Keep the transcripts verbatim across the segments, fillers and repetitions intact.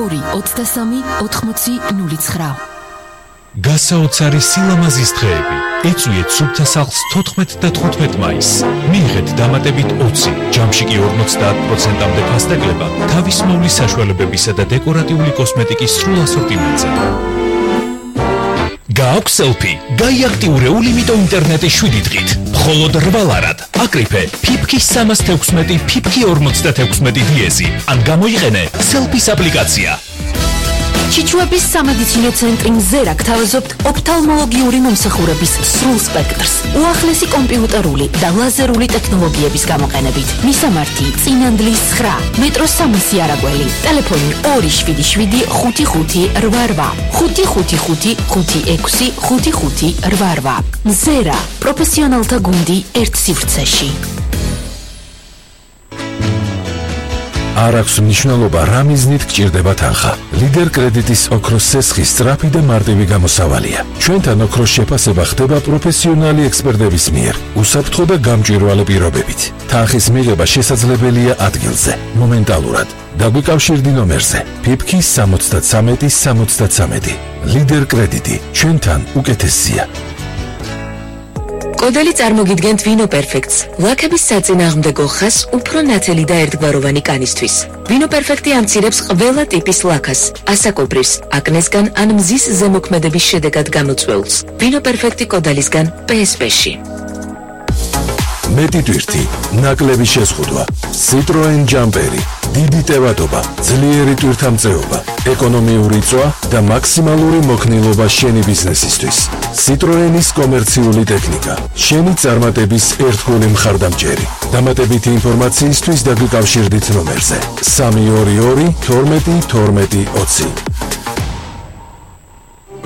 ორი ოცდასამი ოთხმოცი ნული ცხრა. გასაოცარი სილამაზის დღეები. ეწვიეთ სუფთა სახლს თოთხმეტ და თხუთმეტ მაისს. მიიღეთ დამატებით ოცი, ჯამში კი ორმოცდაათ პროცენტამდე ფასდაკლება თავის მოვლის საშუალებებისა და დეკორატიული კოსმეტიკის სრულ ასორტიმენტზე. გააქვს სელფი, გაიაქტიურე ულიმიტო ინტერნეტის შვიდი დღით. მხოლოდ რვა ლარად. აკრიფე ფიფკი სამას თექვსმეტი, ფიფკი ორმოცდათექვსმეტი დიეზი. ან გამოიყენე სელფის აპლიკაცია. ჩიჩუების სამედიცინო ცენტრი მზერა გთავაზობთ ოფთალმოლოგიური მომსახურების სრულ სპექტრს. უახლესი კომპიუტერული და ლაზერული ტექნოლოგიების გამოყენებით. მისამართი წინანდლის ცხრა, მეტროს სამასი არაგველი. ტელეფონი ორი შვიდი შვიდი ხუთი ხუთი რვა რვა, ხუთი ხუთი ხუთი ხუთი ექვსი ხუთი ხუთი რვა რვა. მზერა, პროფესიონალთა გუნდი ერთ სივრცეში. არ აქვს მნიშვნელობა რა მიზნით გჭირდება თანხა. ლიდერ კრედიტის ოქროს სესხი სწრაფი და მარტივი გამოსავალია. ჩვენთან ოქროს შეფასება ხდება პროფესიონალი ექსპერტების მიერ, უსაფრთხო და გამჭვირვალე პირობებით. თანხის მიღება შესაძლებელია ადგილზე, მომენტალურად. დაგვიკავშირდი ნომერზე ფიფკი სამოცდათსამეტი სამოცდათსამეტი. ლიდერ კრედიტი, ჩვენთან უკეთესია. კოდელი წარმოგიდგენთ ვინო პერფექტს, ლაქების საწინააღმდეგო ხას უფრო ნათელი და ერთგვაროვანი კანისთვის. ვინო პერფექტი ამცირებს ყველა ტიპის ლაქას, ასაკობრივს, აკნესგან ან მზის ზემოქმედების შედეგად გამოწვეულს. ვინო პერფექტი კოდალისგან პე ეს პე-ში. მეტი ტვირთი, ნაკლები შეზღუდვა, Citroen ჯამპერი, დიდი ტევადობა, ძლიერი ტვირთამწეობა, ეკონომიური წვა და მაქსიმალური მოქნილობა შენი ბიზნესისთვის. Citroenis კომერციული ტექნიკა, შენი წარმატების ერთგული მხარდამჭერი. დამატებითი ინფორმაციისთვის დაგვიკავშირდით ნომერზე სამი ორი ორი თორმეტი თორმეტი ოცი.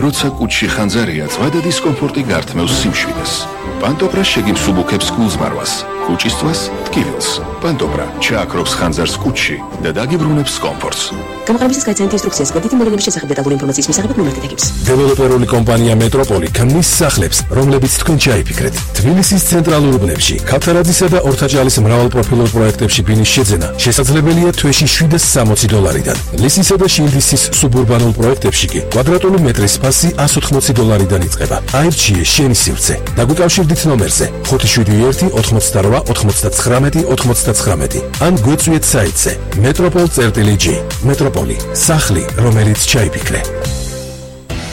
როცა კუჩში ხანძარია, წვა და დისკომფორტი გართმევს სიმშვიდეს. პანტოპრა შეგიმსუბუქებს გულზმარვას, კუჩისთვის ტკივილს. პანტოპრა ჩააქრობს ხანძარს კუჩში და დაგიბრუნებს კომფორტს. გამოყენებისას გაიცანეთ ინსტრუქციას გვერდითი მოვლენების შესახებ დეტალური ინფორმაციის მისაღებად ნომერით ეთქებს. დეველოპერული კომპანია მეტროპოლი ქმნის სახლებს, რომლებიც თქვენ ჩაიფიქრეთ. თბილისის ცენტრალურ უბნებში, ქავთარაძისა და ორთაჭალის მრავალპროფილურ პროექტებში ბინის შეძენა შესაძლებელია თვეში შვიდას სამოცი დოლარიდან. ლისისა და შილდისის სუბურბანულ პროექტებში კი კვადრატული მეტრის ფასი ასი ოცდაოთხი დოლარიდან იწყება. აირჩიე შენი სივრცე. დაგვიკავშირდით ნომერზე ხუთი შვიდი ერთი ოთხმოცდარვა ოთხმოცდაცხრამეტი ოთხმოცდაცხრამეტი. ან გვეწვიეთ საიტზე მეტროპოლ წერტილი ჯი. მეტროპოლი, სახლი, რომელიც ჩაიფიქრე.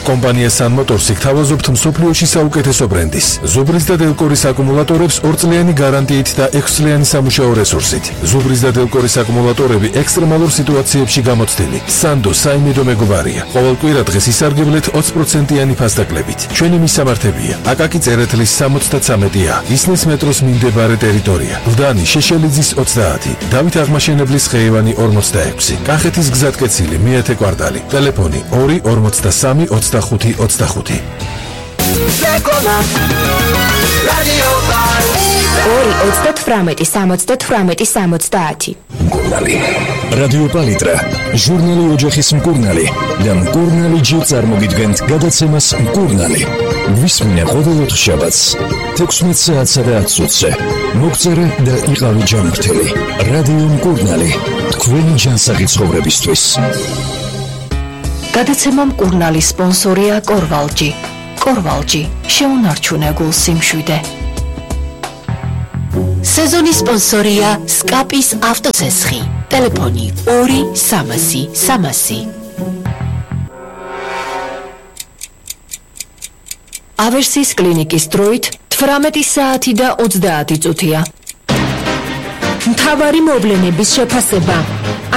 კომპანია Sun Motors გთავაზობთ მსოფლიოში საუკეთესო ბრენდის, ზუბრის და დელკორის აკუმულატორებს ორწლიანი გარანტიით და ექვსწლიანი სამუშაო რესურსით. ზუბრის და დელკორის აკუმულატორები ექსტრემალურ სიტუაციებში გამოცდილი. Sando საიმედო მეგობარია. ყოველ კვირა დღეს ისარგებლეთ ოცი პროცენტიანი ფასდაკლებით. ჩვენი მისამართებია: აკაკი წერეთლის სამოცდათსამეტი ა, ისნის მეტროს მიმდებარე ტერიტორია, გლდანი შეშელიძის ოცდაათი, დავით აღმაშენებლის ხეივანი ორმოცდაექვსი, კახეთის გზატკეცილი მეათე კვარტალი, ტელეფონი ორი ორმოცდასამი ოცდახუთი ოცდახუთი. ორი ოცდათვრამეტი სამოცდათვრამეტი სამოცდაათი. მკურნალი. რადიო პალიტრა, ჟურნალი ოჯახის მკურნალი და მკურნალი ჯი წარმოგიდგენთ გადაცემას მკურნალი. ვისმინე ყოველ ოთხშაბათს თექვსმეტ საათსა და ათს ოცზე. მოგწერე და იყავი ჯანმრთელი. რადიო მკურნალი, თქვენი ჯანსაღი ცხოვრებისთვის. გადაცემა მკურნალი სპონსორია კორვალჯი. კორვალჯი, შეუნარჩუნე გულს სიმშვიდე. სეზონის სპონსორია სკაპის ავტოცესხი. ტელეფონი ორი სამასი სამასი. ავერსის კლინიკის დროით თვრამეტი საათი და ოცდაათი წუთია. მთავარი მოვლენების შეფასება,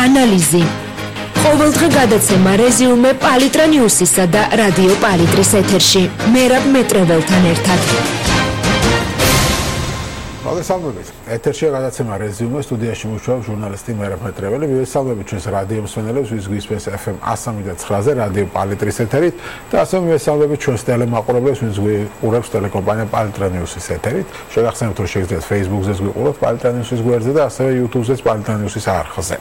ანალიზი. ყოველდღე გადაცემა რეზიუმე პალიტრა ნიუსისა და რადიო პალიტრის ეთერში. მერაბ მეტრეველთან ერთად. მოგესალმებით. ეთერშია გადაცემა რეზიუმე, სტუდიაში მუშაობს ჟურნალისტი მერაბ მეტრეველი. მივესალმებით ჩვენს რადიო მსმენელებს, ვის გვისმენს ეფ ემ εκατო სამი და ცხრაზე რადიო პალიტრის ეთერით და ასევე მივესალმებით ჩვენს ტელემაყურებლებს, ვინც გვიყურებს ტელეკომპანია პალიტრა ნიუსის ეთერით. შეგახსენებთ, რომ შეგიძლიათ Facebook-ზეც გვიყუროთ პალიტრა ნიუსის გვერდზე და ასევე YouTube-ზეც პალიტრა ნიუსის არხზე.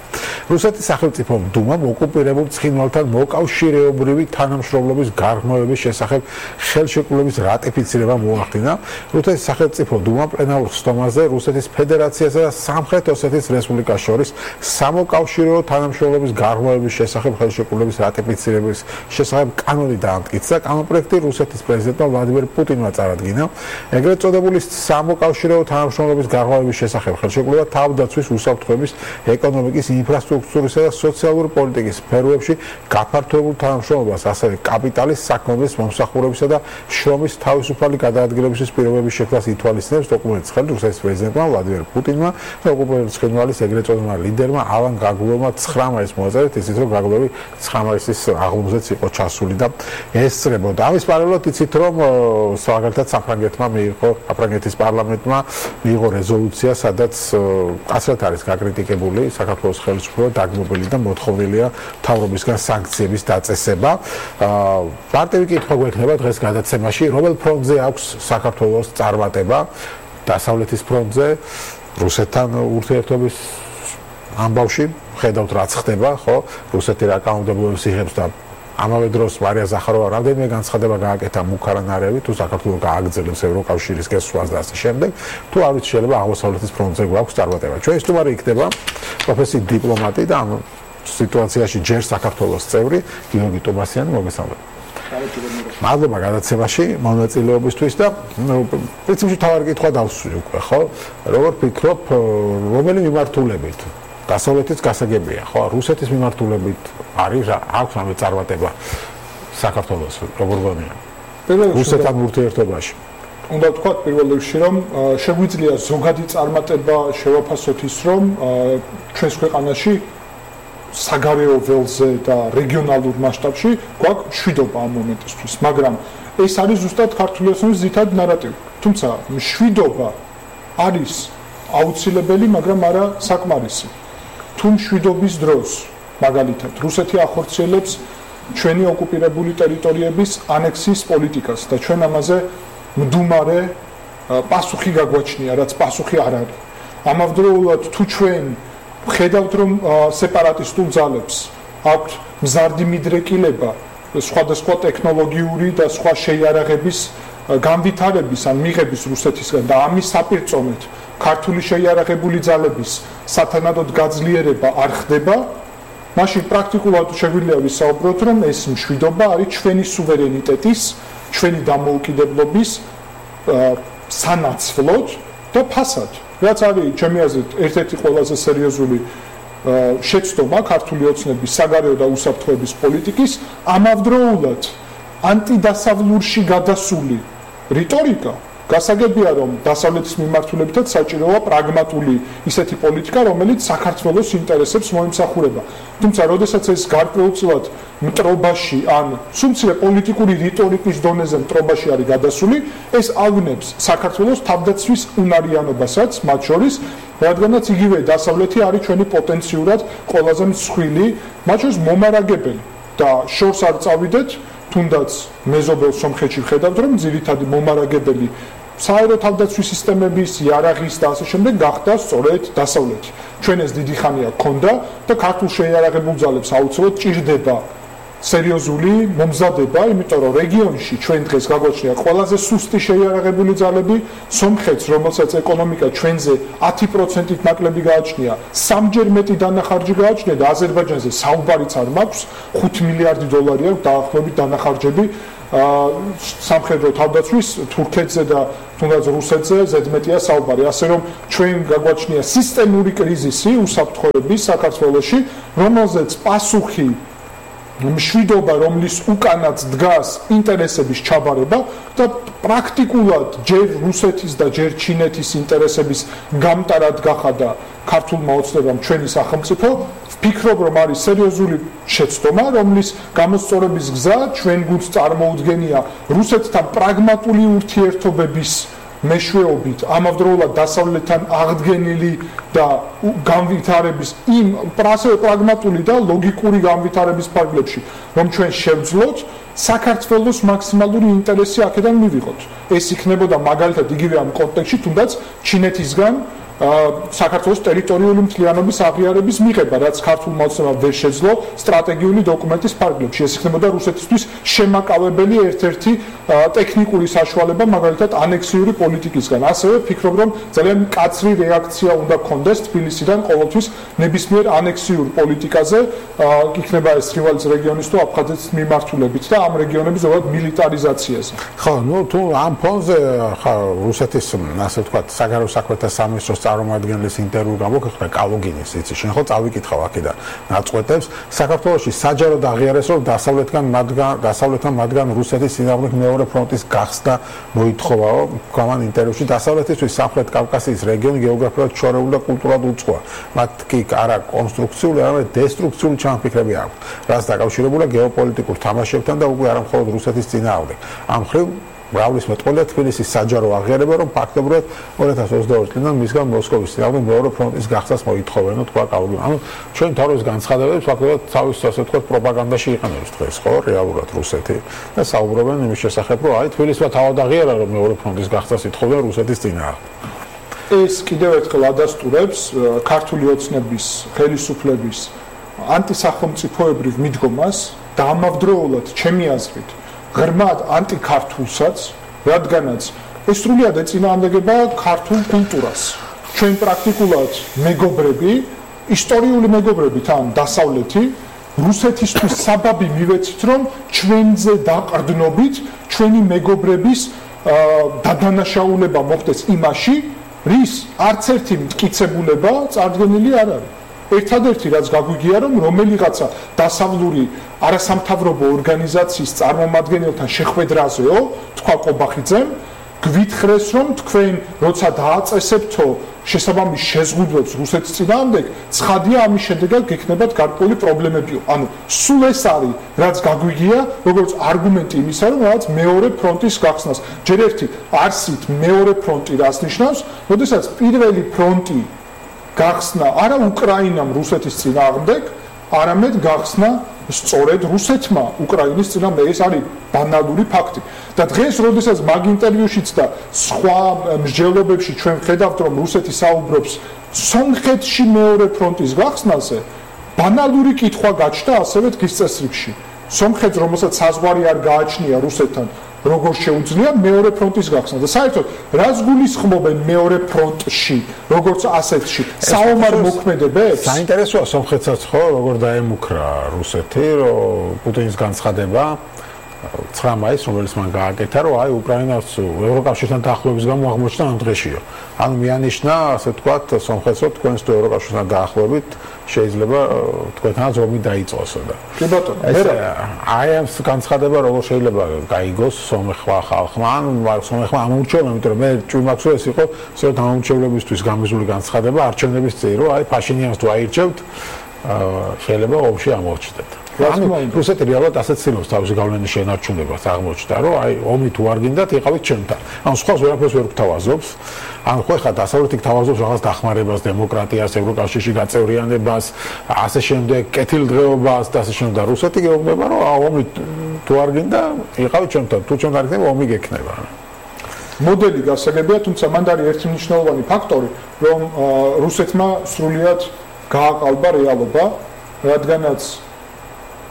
რუსეთის სახელმწიფო დუმამ ოკუპირებულ ცხინვალთან მოკავშირეობრივი თანამშრომლობის გარღვევების შესახებ ხელშეკრულების რატიფიცირება მოახდინა. რუსეთის სახელმწიფო დუმამ პლენარულ სტომაში ამაზე რუსეთის ფედერაციასა და სამხრეთ ოსეთის რესპუბლიკას შორის სამოკავშირეო თანამშრომლობის გარღვევების შესახებ ხელშეკრულების რატიფიცირების შესახებ კანონი დაამტკიცა. კანონპროექტი რუსეთის პრეზიდენტმა ვლადიმერ პუტინმა წარადგინა. ეგრეთ წოდებული სამოკავშირეო თანამშრომლობის გარღვევების შესახებ ხელშეკრულება თავდაცვის უსაფრთხოების, ეკონომიკის, ინფრასტრუქტურისა და სოციალური პოლიტიკის სფეროებში გაფართოებულ თანამშრომლობას, ასევე კაპიტალის, საქმეების, მომსახურებისა და შრომის თავისუფალი გადაადგილების პირობების შექმნას ითვალისწინებს. დოკუმენტის ხელით რუსეთის პრეზიდენტმა ვლადიმერ პუტინმა და ოკუპირების ცხინვალის ეგრეთ წოდებულმა ლიდერმა ალან გაგულოვმა ცხრა მაისს მოაწერეთ, ისიც რომ გაგულოვი ცხრა მაისის აღლუმზეც იყო ჩასული და ესწრებოდა. ამის პარალელურად იცით რომ მაგალითად საფრანგეთმა მიიღო საფრანგეთის პარლამენტმა მიიღო რეზოლუცია, სადაც კაცრად არის გაკრიტიკებული საქართველოს ხელისუფლება, დაგმობილი და მოთხოვნილია მთავრობისგან სანქციების დაწესება. მარტივი კითხვა გვექნება დღეს გადაცემაში, რომელ ფრონტზე აქვს საქართველოს წარმატება? დასავლეთის ფრონტზე, რუსეთთან ურთიერთობის ამბავში, ხედავთ რაც ხდება, ხო? რუსეთი რა კანონმდებლობას იღებს და ამავე დროს მარია ზახაროვა რამდენიმე განცხადება გააკეთა მუქარანარევი, თუ საქართველოს გააგრძელებს ევროკავშირის გასვლას და ასე შემდეგ, თუ არ ვიცი შეიძლება აღმოსავლეთის ფრონტზე გვაქვს წარმატება. ჩვენი სტუმარი იქნება პროფესიით დიპლომატი და ამ სიტუაციაში ჯერ საქართველოს წევრი გიორგი ტომასიანი, მოგესალმებით. მადლობა გადაცემაში მონაწილეობისთვის და პრინციპში თავარი კითხვა დავსვი უკვე, ხო? როგორ ფიქრობ, რომელი მიმართულებით? დასავლეთის გასაგებია, ხო? რუსეთის მიმართულებით არის აქვს ამ წარმატება საქართველოს როგორ გონია? რუსეთთან ურთიერთობაში. უნდა ვთქვა პირველ რიგში, რომ შეგვიძლია ზოგადი წარმატება შევაფასოთ ის, რომ ჩვენს ქვეყანაში საგარეო ველზე და რეგიონალურ მასშტაბში გვაქვს მშვიდობა ამ მომენტისთვის, მაგრამ ეს არის ზუსტად ქართული ოცნების ძირითადი ნარატივი. თუმცა მშვიდობა არის აუცილებელი, მაგრამ არა საკმარისი. თუ მშვიდობის დროს, მაგალითად, რუსეთი ახორციელებს ჩვენი ოკუპირებული ტერიტორიების ანექსიის პოლიტიკას და ჩვენ ამაზე მდუმარე პასუხი გაგვაჩნია, რაც პასუხი არ არის. ამავდროულად თუ ჩვენ ხედავთ რომ სეპარატისტულ ძალებს აქვთ მზარდი მიდრეკილება სხვადასხვა ტექნოლოგიური და სხვა შეიარაღების განვითარების ან მიღების რუსეთისგან და ამის საპირწონედ ქართული შეიარაღებული ძალების სათანადოდ გაძლიერება არ ხდება, მაშინ პრაქტიკულად შეგვიძლია ვისაუბროთ რომ ეს მშვიდობა არის ჩვენი სუვერენიტეტის, ჩვენი დამოუკიდებლობის სანაცვლოდ და ფასად. რაც არის ჩემი აზრით ერთ-ერთი ყველაზე სერიოზული შეცდომა ქართული ოცნების საგარეო და უსაფრთხოების პოლიტიკის, ამავდროულად ანტიდასავლურში გადასული რიტორიკა გასაგებია რომ დასავლეთის მიმართულებითაც საჭიროა პრაგმატული ისეთი პოლიტიკა, რომელიც საქართველოს ინტერესებს მოიმსახურება. თუმცა, როდესაც ეს გარკვეულწილად მტრობაში ან სულცრე პოლიტიკური რიტორიკის დონეზე მტრობაში არის გადასული, ეს ავნებს საქართველოს თავდაცვის უნარიანობასაც, მათ შორის, რადგანაც იგივე დასავლეთი არის ჩვენი პოტენციურად ყველაზე მსხვილი, მათ შორის მომარაგებელი და შორს არ წავიდეთ, თუნდაც მეზობელ სომხეთში ვხედავთ, რომ ძირითადი მომარაგებელი საერო თავდაცვის სისტემების, იარაღის და ასე შემდეგ გახდა სწორედ დასავლეთი. ჩვენ ეს დიდი ხანია გქონდა და ქართულ შეიარაღებულ ძალებს აუცილებლად ჭირდება სერიოზული მომზადება, იმიტომ რომ რეგიონში ჩვენ დღეს გაგვაჩნია ყველაზე სუსტი შეიარაღებული ძალები, სომხეთს, რომელსაც ეკონომიკა ჩვენზე ათი პროცენტით ნაკლები გააჩნია, სამჯერ მეტი დანახარჯი გააჩნია და აზერბაიჯანზე საუბარიც არ მაქვს, ხუთი მილიარდი დოლარი აქვს დაახლოებით დანახარჯები სამხედრო თავდაცვის თურქეთზე და თუნდაც რუსეთზე ზედმეტია საუბარი, ასე რომ ჩვენ გაგვაჩნია სისტემური კრიზისი უსაფრთხოების საქართველოში, რომელზეც პასუხი მშვიდობა, რომლის უკანაც დგას ინტერესების ჩაბარება და პრაქტიკულად ჯერ რუსეთის და ჯერ ჩინეთის ინტერესების გამტარად გახადა ქართულმა ოცნებამ ჩვენი სახელმწიფო, ვფიქრობ რომ არის სერიოზული შეცდომა, რომლის გამოსწორების გზა ჩვენ გუნდს წარმოუდგენია რუსეთთან პრაგმატული ურთიერთობების მეშვეობით, ამავდროულად დასავლეთთან აღდგენილი და განვითარების იმ პრასე პრაგმატული და ლოგიკური განვითარების ფარგლებში, რომ ჩვენ შევძლოთ საქართველოს მაქსიმალური ინტერესი აქედან მივიღოთ. ეს იქნებოდა მაგალითად იგივე ამ კონტექსტში, თუნდაც ჩინეთისგან საქართველოს ტერიტორიული მთლიანობის აღიარების მიღება, რაც ქართულმა ოცნებამ ვერ შეძლო სტრატეგიული დოკუმენტის ფარგლებში. ეს იქნებოდა რუსეთისთვის შემაკავებელი ერთ-ერთი ტექნიკური საშუალება, მაგალითად ანექსიური პოლიტიკისგან. ასევე ფიქრობ, რომ ძალიან მკაცრი რეაქცია უნდა გქონდეს თბილისიდან ყოველთვის ნებისმიერ ანექსიურ პოლიტიკაზე, იქნება ეს თრივალის რეგიონის თუ აფხაზეთის მიმართულებით და ამ რეგიონების ზოგადად მილიტარიზაციაზე. ხო, ну თუ ამ ფონზე ხა რუსეთის ასე ვთქვათ საგარეო საქმეთა სამინისტროს წარმომადგენლის ინტერვიუ გამოგხდა კალუგინის, იცი, შენ ხო წავიკითხავ აქედან ნაწყვეტებს, საქართველოში საჯაროდ აღიარეს, რომ დასავლეთგან მათგან დასავლეთთან მათგან რუსეთის წინააღმდეგ მეორე ფრონტის გახსნა მოითხოვაო, გამან ინტერვიუში დასავლეთისთვის სამხრეთ კავკასიის რეგიონი გეოგრაფიულად შორეული და კულტურად უწყოა. მათ კი არა კონსტრუქციული, არამედ დესტრუქციული ჩამფიქრები აქვთ, რაც დაკავშირებულია გეოპოლიტიკურ თამაშებთან და უკვე არა მხოლოდ რუსეთის წინააღმდეგ. ამ მხრივ მრავლის მეტყველია თბილისის საჯარო აღიარება, რომ ფაქტობრივად ორი ათას ოცდაორი წლიდან მისგან მოსკოვის წინააღმდეგ მეორე ფრონტის გახსნას მოითხოვენ, თქვა კალუგინი. ანუ ჩვენ თავის განცხადებებს ფაქტობრივად თავის ასე ვთქვათ პროპაგანდაში იყენებს დღეს, ხო, რეალურად რუსეთი და საუბრობენ იმის შესახებ, რომ აი თბილისმა თავად აღიარა, რომ მეორე ფრონტის გახსნას ითხოვდა რუსეთის წინააღმდეგ. ეს კიდევ ერთხელ ადასტურებს ქართული ოცნების ხელისუფლების ანტისახელმწიფოებრივ მიდგომას და ამავდროულად ჩემი აზრით ღრმად ანტიქართულსაც, რადგანაც ეს სრულიად ეწინააღმდეგება ქართულ კულტურას. ჩვენ პრაქტიკულად მეგობრები, ისტორიული მეგობრები თან დასავლეთი, რუსეთისთვის საბაბი მივეცით, რომ ჩვენზე დაყრდნობით ჩვენი მეგობრების დადანაშაულება მოხდეს იმაში, რის არც ერთი მტკიცებულება წარდგენილი არ არის. ერთადერთი რაც გაგვიგია, რომ რომელიღაცა დასავლური არასამთავრობო ორგანიზაციის წარმომადგენელთან შეხვედრაზეო, თქვა ყობახიძემ, გვითხრეს, რომ თქვენ როცა დააწესებთო შესაბამის შეზღუდვებს რუსეთის წინააღმდეგ, ცხადია ამის შედეგად გექნებათ გარკვეული პრობლემებიო. ანუ სულ ეს არის, რაც გაგვიგია, როგორც არგუმენტი იმისა, რომ რაღაც მეორე ფრონტის გახსნას. ჯერ ერთი არსით მეორე ფრონტი რას ნიშნავს, როდესაც პირველი ფრონტი გახსნა არა უკრაინამ რუსეთის წინააღმდეგ, არამედ გახსნა სწორედ რუსეთმა უკრაინის წინააღმდეგ. ეს არის ბანალური ფაქტი. და დღეს, როდესაც მაგ ინტერვიუშიც და სხვა მსჯელობებში ჩვენ ხედავთ, რომ რუსეთი საუბრობს სომხეთში მეორე ფრონტის გახსნაზე, ბანალური კითხვა გაჩნდა ასევე დღის წესრიგში. სომხეთს, რომელსაც საზღვარი არ გააჩნია რუსეთთან, როგორ შეუძლია მეორე ფრონტის გახსნა და საერთოდ რას გულისხმობენ მეორე ფრონტში, როგორც ასეთში, საომარ მოქმედებებს? საინტერესოა სომხეთსაც ხო, როგორ დაემუქრა რუსეთი, რომ პუტინის განცხადება ცხრა მაისს, რომელიც მან გააკეთა, რომ აი უკრაინას ევროკავშირთან დაახლოების გამო აღმოჩნდა ამ დღეშიო. ანუ მიანიშნა, ასე ვთქვათ, სომხეთს, რომ თქვენს თუ ევროკავშირთან დაახლოებით შეიძლება თქვენთანაც ომი დაიწყოსო და. კი ბატონო, აი ამ განცხადება როგორ შეიძლება გაიგოს სომეხმა ხალხმა, ანუ სომეხმა ამოურჩევნა, იმიტომ რომ მე ჭვიმაქსო ეს იყო სწორედ ამორჩევლებისთვის გამიზული განცხადება არჩევნების წინ, რომ აი ფაშინიანს თუ აირჩევთ, შეიძლება ომში ამორჩდეთ. რუსეთი რეალურად ასეთ ცდილობს თავისი გავლენის შენარჩუნებას აღმოჩნდა, რომ აი ომი თუ არ გინდათ, იყავით ჩემთან. ანუ სხვა ვერაფერს ვერ გთავაზობს. ანუ ხო ხა დასავლეთი გთავაზობს რაღაც დახმარებას, დემოკრატიას, ევროკავშირში გაწევრიანებას, ასე შემდეგ, კეთილდღეობას და ასე შემდეგ. და რუსეთი გეუბნება, რომ ომი თუ არ გინდა, იყავით ჩემთან. თუ ჩემთან არ გინდა, ომი გექნება. მოდელი გასაგებია, თუმცა მანდ არის ერთი მნიშვნელოვანი ფაქტორი, რომ რუსეთმა სრულიად გააყალბა რეალობა, რადგანაც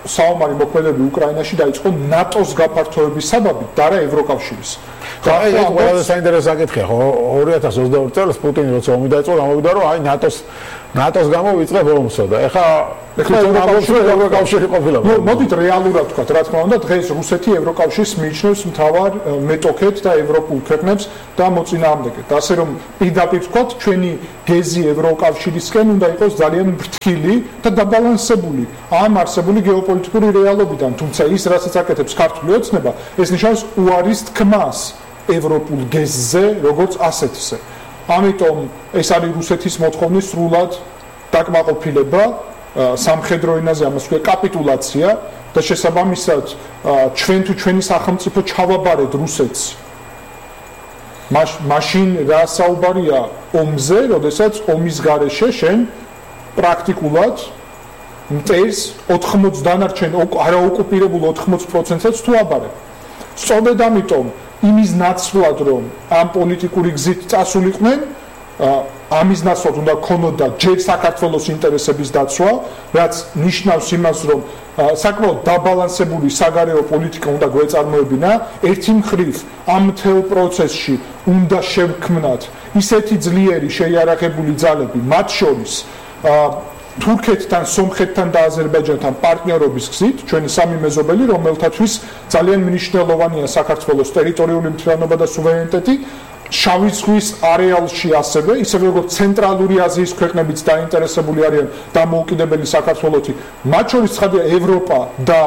საომარი მოქმედებები უკრაინაში დაიწყო ნატოს გაფართოების საბაბით და არა ევროკავშირის. და აი ეს ყველაზე საინტერესო საკითხია, ხო, ორი ათას ოცდაორი წელს პუტინი როცა ომი დაიწყო, გამოვიდა, რომ აი ნატოს ნატოს გამო ვიწყებ ომსო და ეხა ეხლა ევროკავშირი ყოფილა. ნუ მოდით რეალურად ვთქვათ, რა თქმა უნდა, დღეს რუსეთი ევროკავშირს მიიჩნევს მთავარ მეტოქედ და ევროპულ ქვეყნებს და მოწინააღმდეგედ. ასე რომ პირდაპირ ვთქვათ, ჩვენი გეზი ევროკავშირისკენ უნდა იყოს ძალიან ფრთხილი და დაბალანსებული ამ არსებული გეოპოლიტიკური რეალობიდან, თუმცა ის რასაც აკეთებს ქართული ოცნება, ეს ნიშნავს უარის თქმას ევროპულ გეზზე, როგორც ასეთზე. ამიტომ ეს არის რუსეთის მოთხოვნის სრულად დაკმაყოფილება სამხედრო ენაზე, ამას ვქვია კაპიტულაცია და შესაბამისად ჩვენ თუ ჩვენი სახელმწიფო ჩავაბარეთ რუსეთს. მაშინ რა საუბარია ომზე, როდესაც ომის გარეშე შენ პრაქტიკულად მტერს ოთხმოცი დანარჩენ არაოკუპირებულ ოთხმოცი პროცენტსაც თუ აბარებ. სწორედ ამიტომ იმის ნაცვლად, რომ ამ პოლიტიკური გზით წასულიყვნენ, ამის ნაცვლად უნდა ქონოდა ჯერ საქართველოს ინტერესების დაცვა, რაც ნიშნავს იმას, რომ საკმაოდ დაბალანსებული საგარეო პოლიტიკა უნდა გვეწარმოებინა. ერთი მხრივ ამ მთელ პროცესში უნდა შევქმნათ ისეთი ძლიერი შეიარაღებული ძალები, მათ შორის თურქეთთან, სომხეთთან და აზერბაიჯანთან პარტნიორობის გზით, ჩვენი სამი მეზობელი, რომელთათვის ძალიან მნიშვნელოვანია საქართველოს ტერიტორიული მთლიანობა და სუვერენიტეტი, შავი ზღვის არეალში ასევე, ისევე როგორც ცენტრალური აზიის ქვეყნებიც დაინტერესებული არიან დამოუკიდებელი საქართველოთი, მათ შორის ცხადია ევროპა და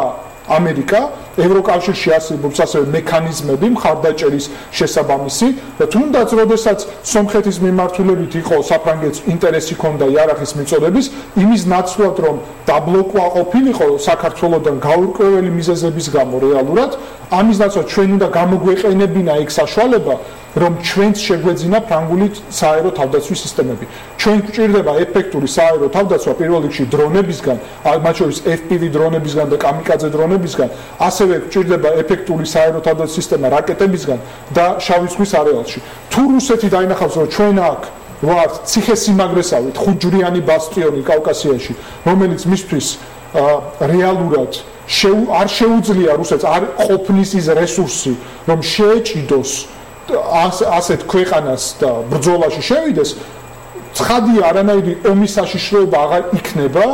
ამერიკა, ევროკავშირში არსებობს ასევე მექანიზმები მხარდაჭერის შესაბამისი და თუნდაც როდესაც სომხეთის მიმართულებით იყო საფრანგეთს ინტერესი ჰქონდა იარაღის მიწოდების, იმის ნაცვლად რომ დაბლოკვა ყოფილიყო საქართველოსთან გაურკვეველი მიზეზების გამო რეალურად, ამის ნაცვლად ჩვენ უნდა გამოგვეყენებინა ეგ საშუალება, რომ ჩვენც შეგვეძინა ფრანგული სააერო თავდაცვის სისტემები. ჩვენ გვჭირდება ეფექტური სააერო თავდაცვა პირველ რიგში დრონებისგან, მათ შორის ეფ პი ვი დრონებისგან და კამიკაძე დრონებისგან, ასევე გვჭირდება ეფექტური სააერო თავდაცვის სისტემა რაკეტებისგან და შავი ზღვის არეალში. თუ რუსეთი დაინახავს, რომ ჩვენ აქ ვართ ციხესიმაგრესავით, ხუთჯვრიანი ბასტიონი კავკასიაში, რომელიც მისთვის რეალურად არ შეუძლია რუსეთს, არ ყოფნის ის რესურსი, რომ შეეჭიდოს ასეთ ქვეყანას და ბრძოლაში შევიდეს, ცხადია არანაირი ომის საშიშროება აღარ იქნება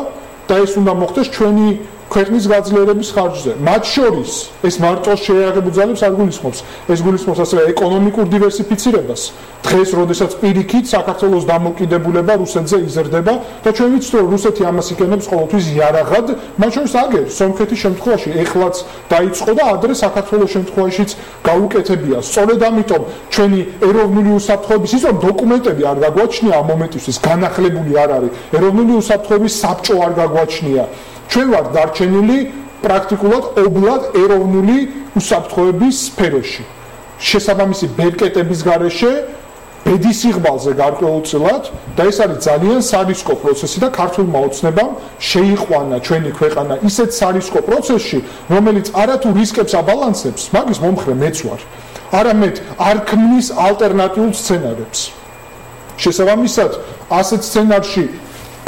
და ეს უნდა მოხდეს ჩვენი ქვეყნის გაძლიერების ხარჯზე. მათ შორის ეს მარტო შეიარაღებული ძალებს არ გულისხმობს, ეს გულისხმობს ასევე ეკონომიკურ დივერსიფიცირებას. დღეს, როდესაც პირიქით საქართველოს დამოკიდებულება რუსეთზე იზრდება და ჩვენ ვიცით, რომ რუსეთი ამას იკენებს ყოველთვის იარაღად, მათ შორის აგერ სომხეთის შემთხვევაში ეხლაც დაიწყო და ადრე საქართველოს შემთხვევაშიც გაუკეთებია. სწორედ ამიტომ ჩვენი ეროვნული უსაფრთხოების ის რომ დოკუმენტები არ გაგვაჩნია ამ მომენტისთვის, განახლებული არ არის. ეროვნული უსაფრთხოების საბჭო არ გაგვაჩნია. ჩვენ ვართ დარჩენილი პრაქტიკულად ობლად ეროვნული უსაფრთხოების სფეროში. შესაბამისი ბერკეტების გარეშე ბედის იღბალზე გარკვეულწილად და ეს არის ძალიან სარისკო პროცესი და ქართულმა ოცნებამ შეიყვანა ჩვენი ქვეყანა ისეთ სარისკო პროცესში, რომელიც არათუ რისკებს აბალანსებს, მაგის მომხრე მეც ვარ, არამედ არ ქმნის ალტერნატიულ სცენარებს. შესაბამისად, ასეთ სცენარში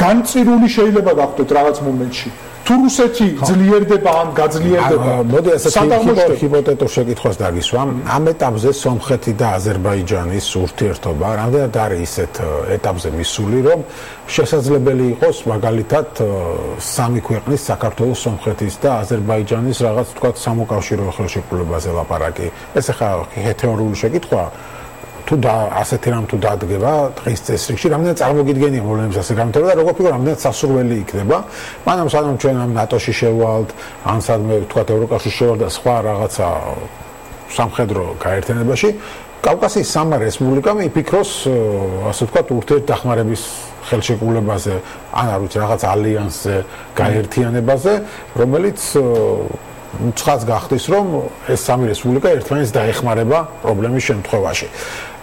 განწირული შეიძლება გახდეთ რაღაც მომენტში. თუ რუსეთი ძლიერდება ან გაძლიერდება, მოდი ასეთი ჰიპოთეტურ შეკითხვას დაგისვამ. ამ ეტაპზე სომხეთი და აზერბაიჯანის ურთიერთობა რამდენად არის ისეთ ეტაპზე მისული, რომ შესაძლებელი იყოს მაგალითად სამი ქვეყნის, საქართველოს, სომხეთის და აზერბაიჯანის რაღაც თქვა სამოკავშირო ხელშეკრულებაზე ლაპარაკი. ეს ახლა თეორიული შეკითხვაა. თუ და ასეთი რამ თუ დადგება დღის წესრიგში, რამდენად წარმოგიდგენია მოვლენებს ასე გამართება და როგორ ფიქრობ, რამდენად სასურველი იქნება. მანამ სანამ ჩვენ ამ ნატოში შევვალთ, ან სადმე თქვა ევროკავშირში შევვალთ და სხვა რაღაცა სამხედრო გაერთიანებაში, კავკასიის სამმა რესპუბლიკამ იფიქროს, ასე თქვა, ურთიერთდახმარების ხელშეკრულებაზე, ან არ ვიცი, რაღაც ალიანსზე, გაერთიანებაზე, რომელიც ცხადს გახდის, რომ ეს სამი რესპუბლიკა ერთმანეთს დაეხმარება პრობლემის შემთხვევაში.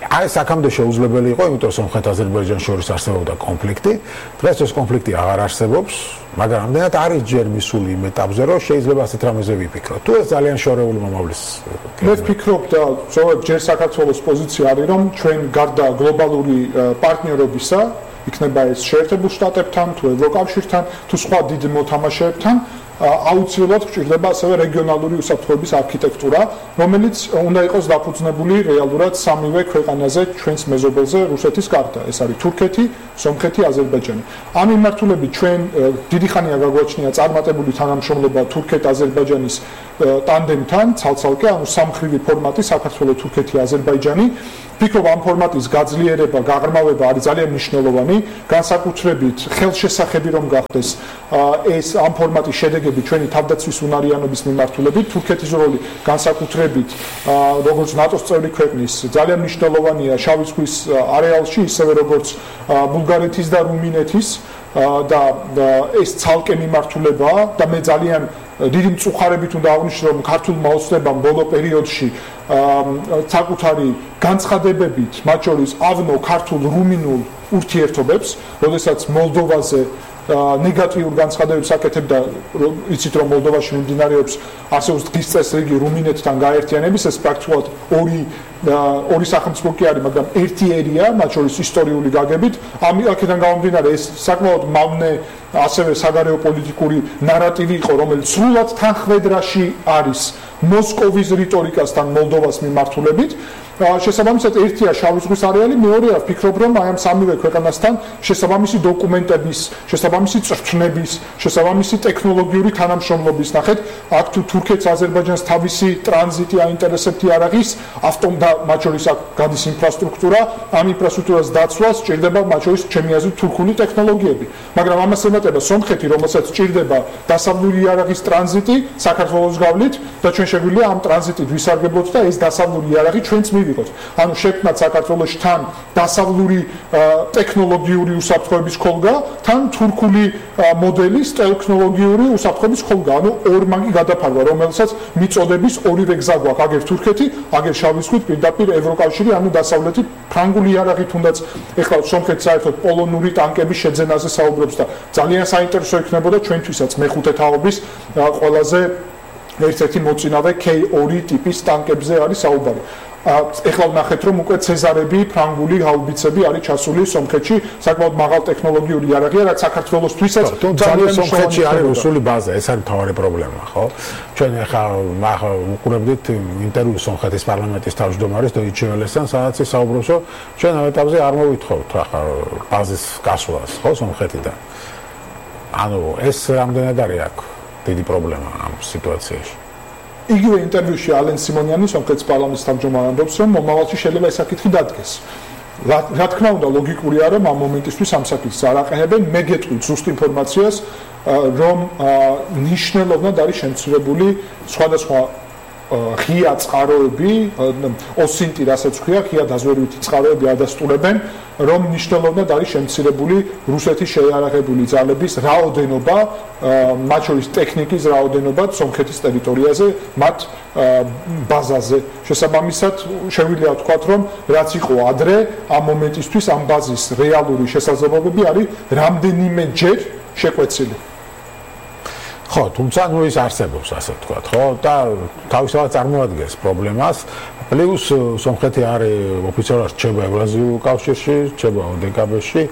აი ეს აქამდე შეუძლებელი იყო, იმიტომ რომ სომხეთ-აზერბაიჯანს შორის არსებობდა კონფლიქტი. დღეს ეს კონფლიქტი აღარ არსებობს, მაგრამ ამდენად არის ჯერ მისული იმ ეტაპზე, რომ შეიძლება ასეთ რამეზე ვიფიქროთ. თუ ეს ძალიან შორეული მომავლის. მე ვფიქრობ და ზოგადად ჯერ საქართველოს პოზიცია არის, რომ ჩვენ გარდა გლობალური პარტნიორობისა, იქნება ეს შეერთებულ შტატებთან, თუ ევროკავშირთან, თუ სხვა დიდ მოთამაშეებთან, აუცილებლად გვჭირდება ასევე რეგიონალური უსაფრთხოების არქიტექტურა, რომელიც უნდა იყოს დაფუძნებული რეალურად სამივე ქვეყანაზე, ჩვენს მეზობელზე, რუსეთის გარდა. ეს არის თურქეთი, სომხეთი, აზერბაიჯანი. ამ მიმართულებით ჩვენ დიდი ხანია გაგვაჩნია წარმატებული თანამშრომლობა თურქეთ-აზერბაიჯანის ტანდემთან, ცალ-ცალკე, ანუ სამმხრივი ფორმატი საქართველო, თურქეთი, აზერბაიჯანი. ვფიქრობ, ამ ფორმატის გაძლიერება, გაღრმავება არის ძალიან მნიშვნელოვანი, განსაკუთრებით ხელშესახები რომ გახდეს ეს ამ ფორმატის შედეგები ჩვენი თავდაცვის უნარიანობის მიმართულებით. თურქეთის როლი განსაკუთრებით როგორც ნატოს წევრი ქვეყნის ძალიან მნიშვნელოვანია შავი ზღვის არეალში, ისევე როგორც ბულგარეთის და რუმინეთის და ეს ცალკე მიმართულებაა და მე ძალიან დიდი მწუხარებით უნდა აღნიშნო, რომ ქართულმა ოცნებამ ბოლო პერიოდში საკუთარი განცხადებებით, მათ შორის ავნო ქართულ-რუმინულ ურთიერთობებს, როდესაც მოლდოვაზე ნეგატიურ განცხადებებს აკეთებდა, იცით რომ მოლდოვაში მიმდინარეობს არსებობს დღის წესრიგი რუმინეთთან გაერთიანების, ეს პრაქტიკულად ორი ორი სახელმწიფო კი არის, მაგრამ ერთი ერია, მათ შორის ისტორიული გაგებით. ამ აქედან გამომდინარე ეს საკმაოდ მავნე ასევე საგარეო პოლიტიკური ნარატივი იყო, რომელიც სრულად თანხმედრაში არის მოსკოვის რიტორიკასთან მოლდოვას მიმართულებით. შესაბამისად ერთია შავი ზღვის არეალი, მეორეა ვფიქრობ რომ აი ამ სამივე ქვეყანასთან შესაბამისი დოკუმენტების, შესაბამისი წრფნების, შესაბამისი ტექნოლოგიური თანამშრომლობის ნახეთ, აქ თუ თურქეთს აზერბაიჯანს თავისი ტრანზიტი აინტერესებთი არ არის, ავტომ და მათ შორის აქ გადის ინფრასტრუქტურა, ამ ინფრასტრუქტურას დაცვას სჭირდება მათ შორის ჩემი აზრით თურქული ტექნოლოგიები, მაგრამ ამას ემატება სომხეთი, რომელსაც სჭირდება დასავლური იარაღის ტრანზიტი საქართველოს გავლით და ჩვენ შეგვიძლია ამ ტრანზიტით ვისარგებლოთ და ეს დასავლური იარაღი ჩვენც მივიღოთ. ანუ შექმნათ საქართველოში თან დასავლური ტექნოლოგიური უსაფრთხოების ხოლგა, თან თურქული მოდელის ტექნოლოგიური უსაფრთხოების ხოლგა. ანუ ორმაგი გადაფარვა, რომელსაც მიწოდების ორივე გზა გვაქვს, აგერ თურქეთი, აგერ შავი ზღვით, პირდაპირ ევროკავშირი, ანუ დასავლეთით ფრანგული იარაღი თუნდაც ეხლა სომხეთი საერთოდ პოლონური ტანკების შეძენაზე საუბრობს და ძალიან საინტერესო იქნებოდა ჩვენთვისაც მეხუთე თაობის ყველაზე ერთ-ერთი მოწინავე კეი ორი ტიპის ტანკებზე არის საუბარი. ეხლა ვნახეთ რომ უკვე ცეზარები, ფრანგული ჰაუბიცები არის ჩასული სომხეთში, საკმაოდ მაღალ ტექნოლოგიური იარაღია, რაც საქართველოსთვისაც ძალიან სომხეთში არის რუსული ბაზა, ეს არის მთავარი პრობლემა, ხო? ჩვენ ეხლა ვუყურებდით ინტერვიუს სომხეთის პარლამენტის თავმჯდომარის დოიჩეველესთან, სადაც ის საუბრობს, რომ ჩვენ ამ ეტაპზე არ მოვითხოვთ ახლა ბაზის გასვლას, ხო, სომხეთიდან. ანუ ეს რამდენად არის აქ დიდი პრობლემა ამ სიტუაციაში. იგივე ინტერვიუში ალენ სიმონიანი სომხეთის პარლამენტის თავმჯდომარე ამბობს, რომ მომავალში შეიძლება ეს საკითხი დადგეს. რა თქმა უნდა, ლოგიკურია, რომ ამ მომენტისთვის ამ საკითხს არ აყენებენ. მე გეტყვით ზუსტ ინფორმაციას, რომ ნიშნულოვნად არის შემცირებული სხვადასხვა ღია წყაროები, ოსინტი, რასაც ქვია, ღია დაზვერვითი წყაროები ადასტურებენ, რომ ნიშნულოვნად არის შემცირებული რუსეთის შეიარაღებული ძალების რაოდენობა, მათ შორის ტექნიკის რაოდენობა სომხეთის ტერიტორიაზე, მათ ბაზაზე. შესაბამისად, შეგვიძლია ვთქვათ, რომ რაც იყო ადრე, ამ მომენტისთვის ამ ბაზის რეალური შესაძლებლობები არის რამდენიმეჯერ შეკვეცილი. ხო, თუმცა ნუ ის არსებობს, ასე ვთქვათ, ხო? და თავისთავად წარმოადგენს პრობლემას. პლუს სომხეთი არის ოფიციალურად რჩება ევრაზიულ კავშირში, რჩება ოდეკაბეში.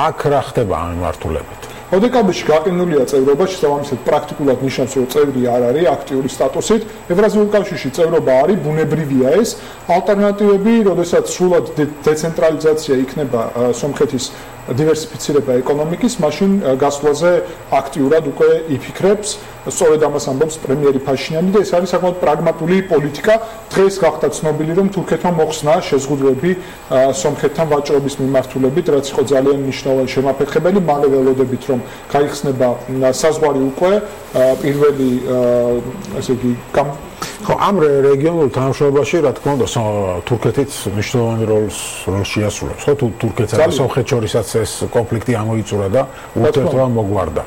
აქ რა ხდება ამ მიმართულებით? ოდეკაბეში გაყინულია წევრობა, შესაბამისად პრაქტიკულად ნიშნავს, რომ წევრი არ არის აქტიური სტატუსით. ევრაზიულ კავშირში წევრობა არის, ბუნებრივია ეს. ალტერნატივები, როდესაც სრულად დეცენტრალიზაცია იქნება სომხეთის დივერსიფიცირება ეკონომიკის, მაშინ გასვლაზე აქტიურად უკვე იფიქრებს. სწორედ ამას ამბობს პრემიერი ფაშინიანი და ეს არის საკმაოდ პრაგმატული პოლიტიკა. დღეს გახდა ცნობილი, რომ თურქეთმა მოხსნა შეზღუდვები სომხეთთან ვაჭრობის მიმართულებით, რაც იყო ძალიან მნიშვნელოვანი შემაფერხებელი. მალე ველოდებით, რომ გაიხსნება საზღვარი უკვე პირველი ასე იგი ხო, ამ რეგიონულ თანამშრომლობაში, რა თქმა უნდა, თურქეთიც მნიშვნელოვანი როლს შეასრულებს. ხო, თუ თურქეთსა და სომხეთს შორისაც ეს კონფლიქტი ამოიწურა და ურთიერთობა მოგვარდა.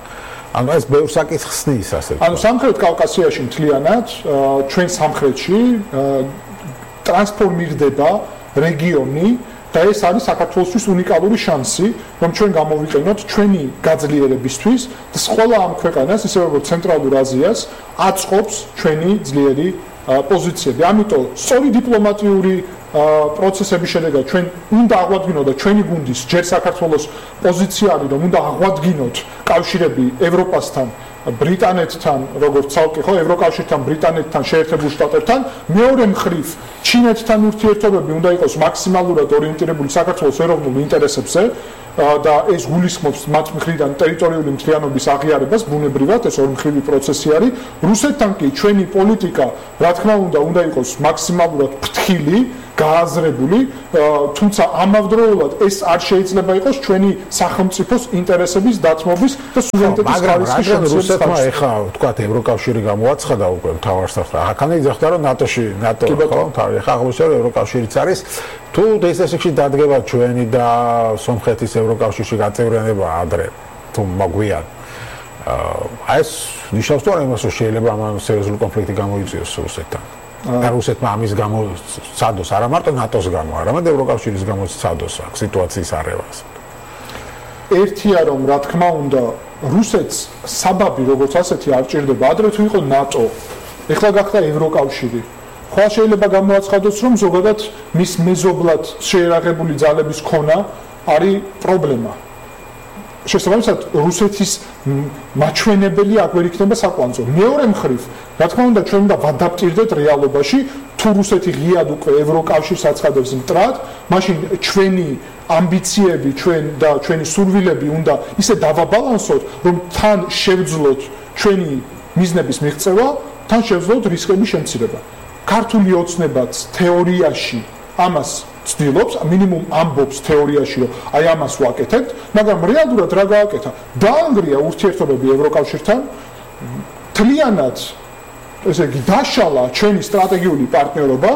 ანუ ეს ბევრ საკითხს ხსნის, ასე ვთქვათ. ანუ სამხრეთ კავკასიაში მთლიანად ჩვენ სამხრეთში ტრანსფორმირდება რეგიონი და ეს არის საქართველოსთვის უნიკალური შანსი, რომ ჩვენ გამოვიყენოთ ჩვენი გაძლიერებისთვის და ყველა ამ ქვეყანას, ისე როგორც ცენტრალურ აზიას, აწყობს ჩვენი ძლიერი პოზიციები. ამიტომ სწორი დიპლომატიური პროცესების შედეგად ჩვენ უნდა აღვადგინოთ და ჩვენი გუნდის ჯერ საქართველოს პოზიცია არის, რომ უნდა აღვადგინოთ კავშირები ევროპასთან, ბრიტანეთთან, როგორც ცალკე ხო, ევროკავშირთან, ბრიტანეთთან, შეერთებულ შტატებთან, მეორე მხრივ ჩინეთთან ურთიერთობები უნდა იყოს მაქსიმალურად ორიენტირებული საქართველოს ეროვნულ ინტერესებზე და ეს გულისხმობს მათ მხრიდან ტერიტორიული მთლიანობის აღიარებას, ბუნებრივად ეს ორმხრივი პროცესი არის. რუსეთთან კი ჩვენი პოლიტიკა, რა თქმა უნდა, უნდა იყოს მაქსიმალურად ფრთხილი, გააზრებული, თუმცა ამავდროულად ეს არ შეიძლება იყოს ჩვენი სახელმწიფოს ინტერესების დათმობის და სუვერენიტეტის ხარისხის შემცირების. რუსეთმა ეხლა ვთქვათ ევროკავშირი გამოაცხადა უკვე მთავარსარდლად. აქამდე იძახდა რომ ნატოში, ნატო ხო, ეხლა აღმოჩნდა რომ ევროკავშირიც არის. თუ დსს-ში დადგება ჩვენი და სომხეთის ევროკავშირში გაწევრიანება ადრე, თუ მოგვიან. აი ეს ნიშნავს თუ არა იმას, რომ შეიძლება ამ სერიოზული კონფლიქტი გამოიწვიოს რუსეთთან. და რუსეთმა ამის გამო ცადოს არა მარტო ნატოს გამო, არამედ ევროკავშირის გამო ცადოს აქ სიტუაციის არევას. ერთია რომ რა თქმა უნდა რუსეთს საბაბი როგორც ასეთი არ ჭირდება ადრე თუ იყო ნატო ეხლა გახდა ევროკავშირი ხო შეიძლება გამოაცხადოს რომ ზოგადად მის მეზობლად შეერაღებული ძალების ქონა არის პრობლემა შესაბამისად რუსეთის მაჩვენებელი აქ ვერ იქნება საკვანძო მეორე მხრივ რა თქმა უნდა ჩვენ უნდა ვადაპტირდეთ რეალობაში თუ რუსეთი ღიად უკვე ევროკავშირს აცხადებს მტრად მაშინ ჩვენი ამბიციები ჩვენ და ჩვენი სურვილები უნდა ისე დავაბალანსოთ რომ თან შევძლოთ ჩვენი მიზნების მიღწევა თან შევძლოთ რისკების შემცირება ქართული ოცნებაც თეორიაში ამას ცდილობს მინიმუმ ამბობს თეორიაში რომ აი ამას ვაკეთებთ მაგრამ რეალურად რა გააკეთა დაანგრია ურთიერთობები ევროკავშირთან თლიანად ესე იგი დაშალა ჩვენი სტრატეგიული პარტნიორობა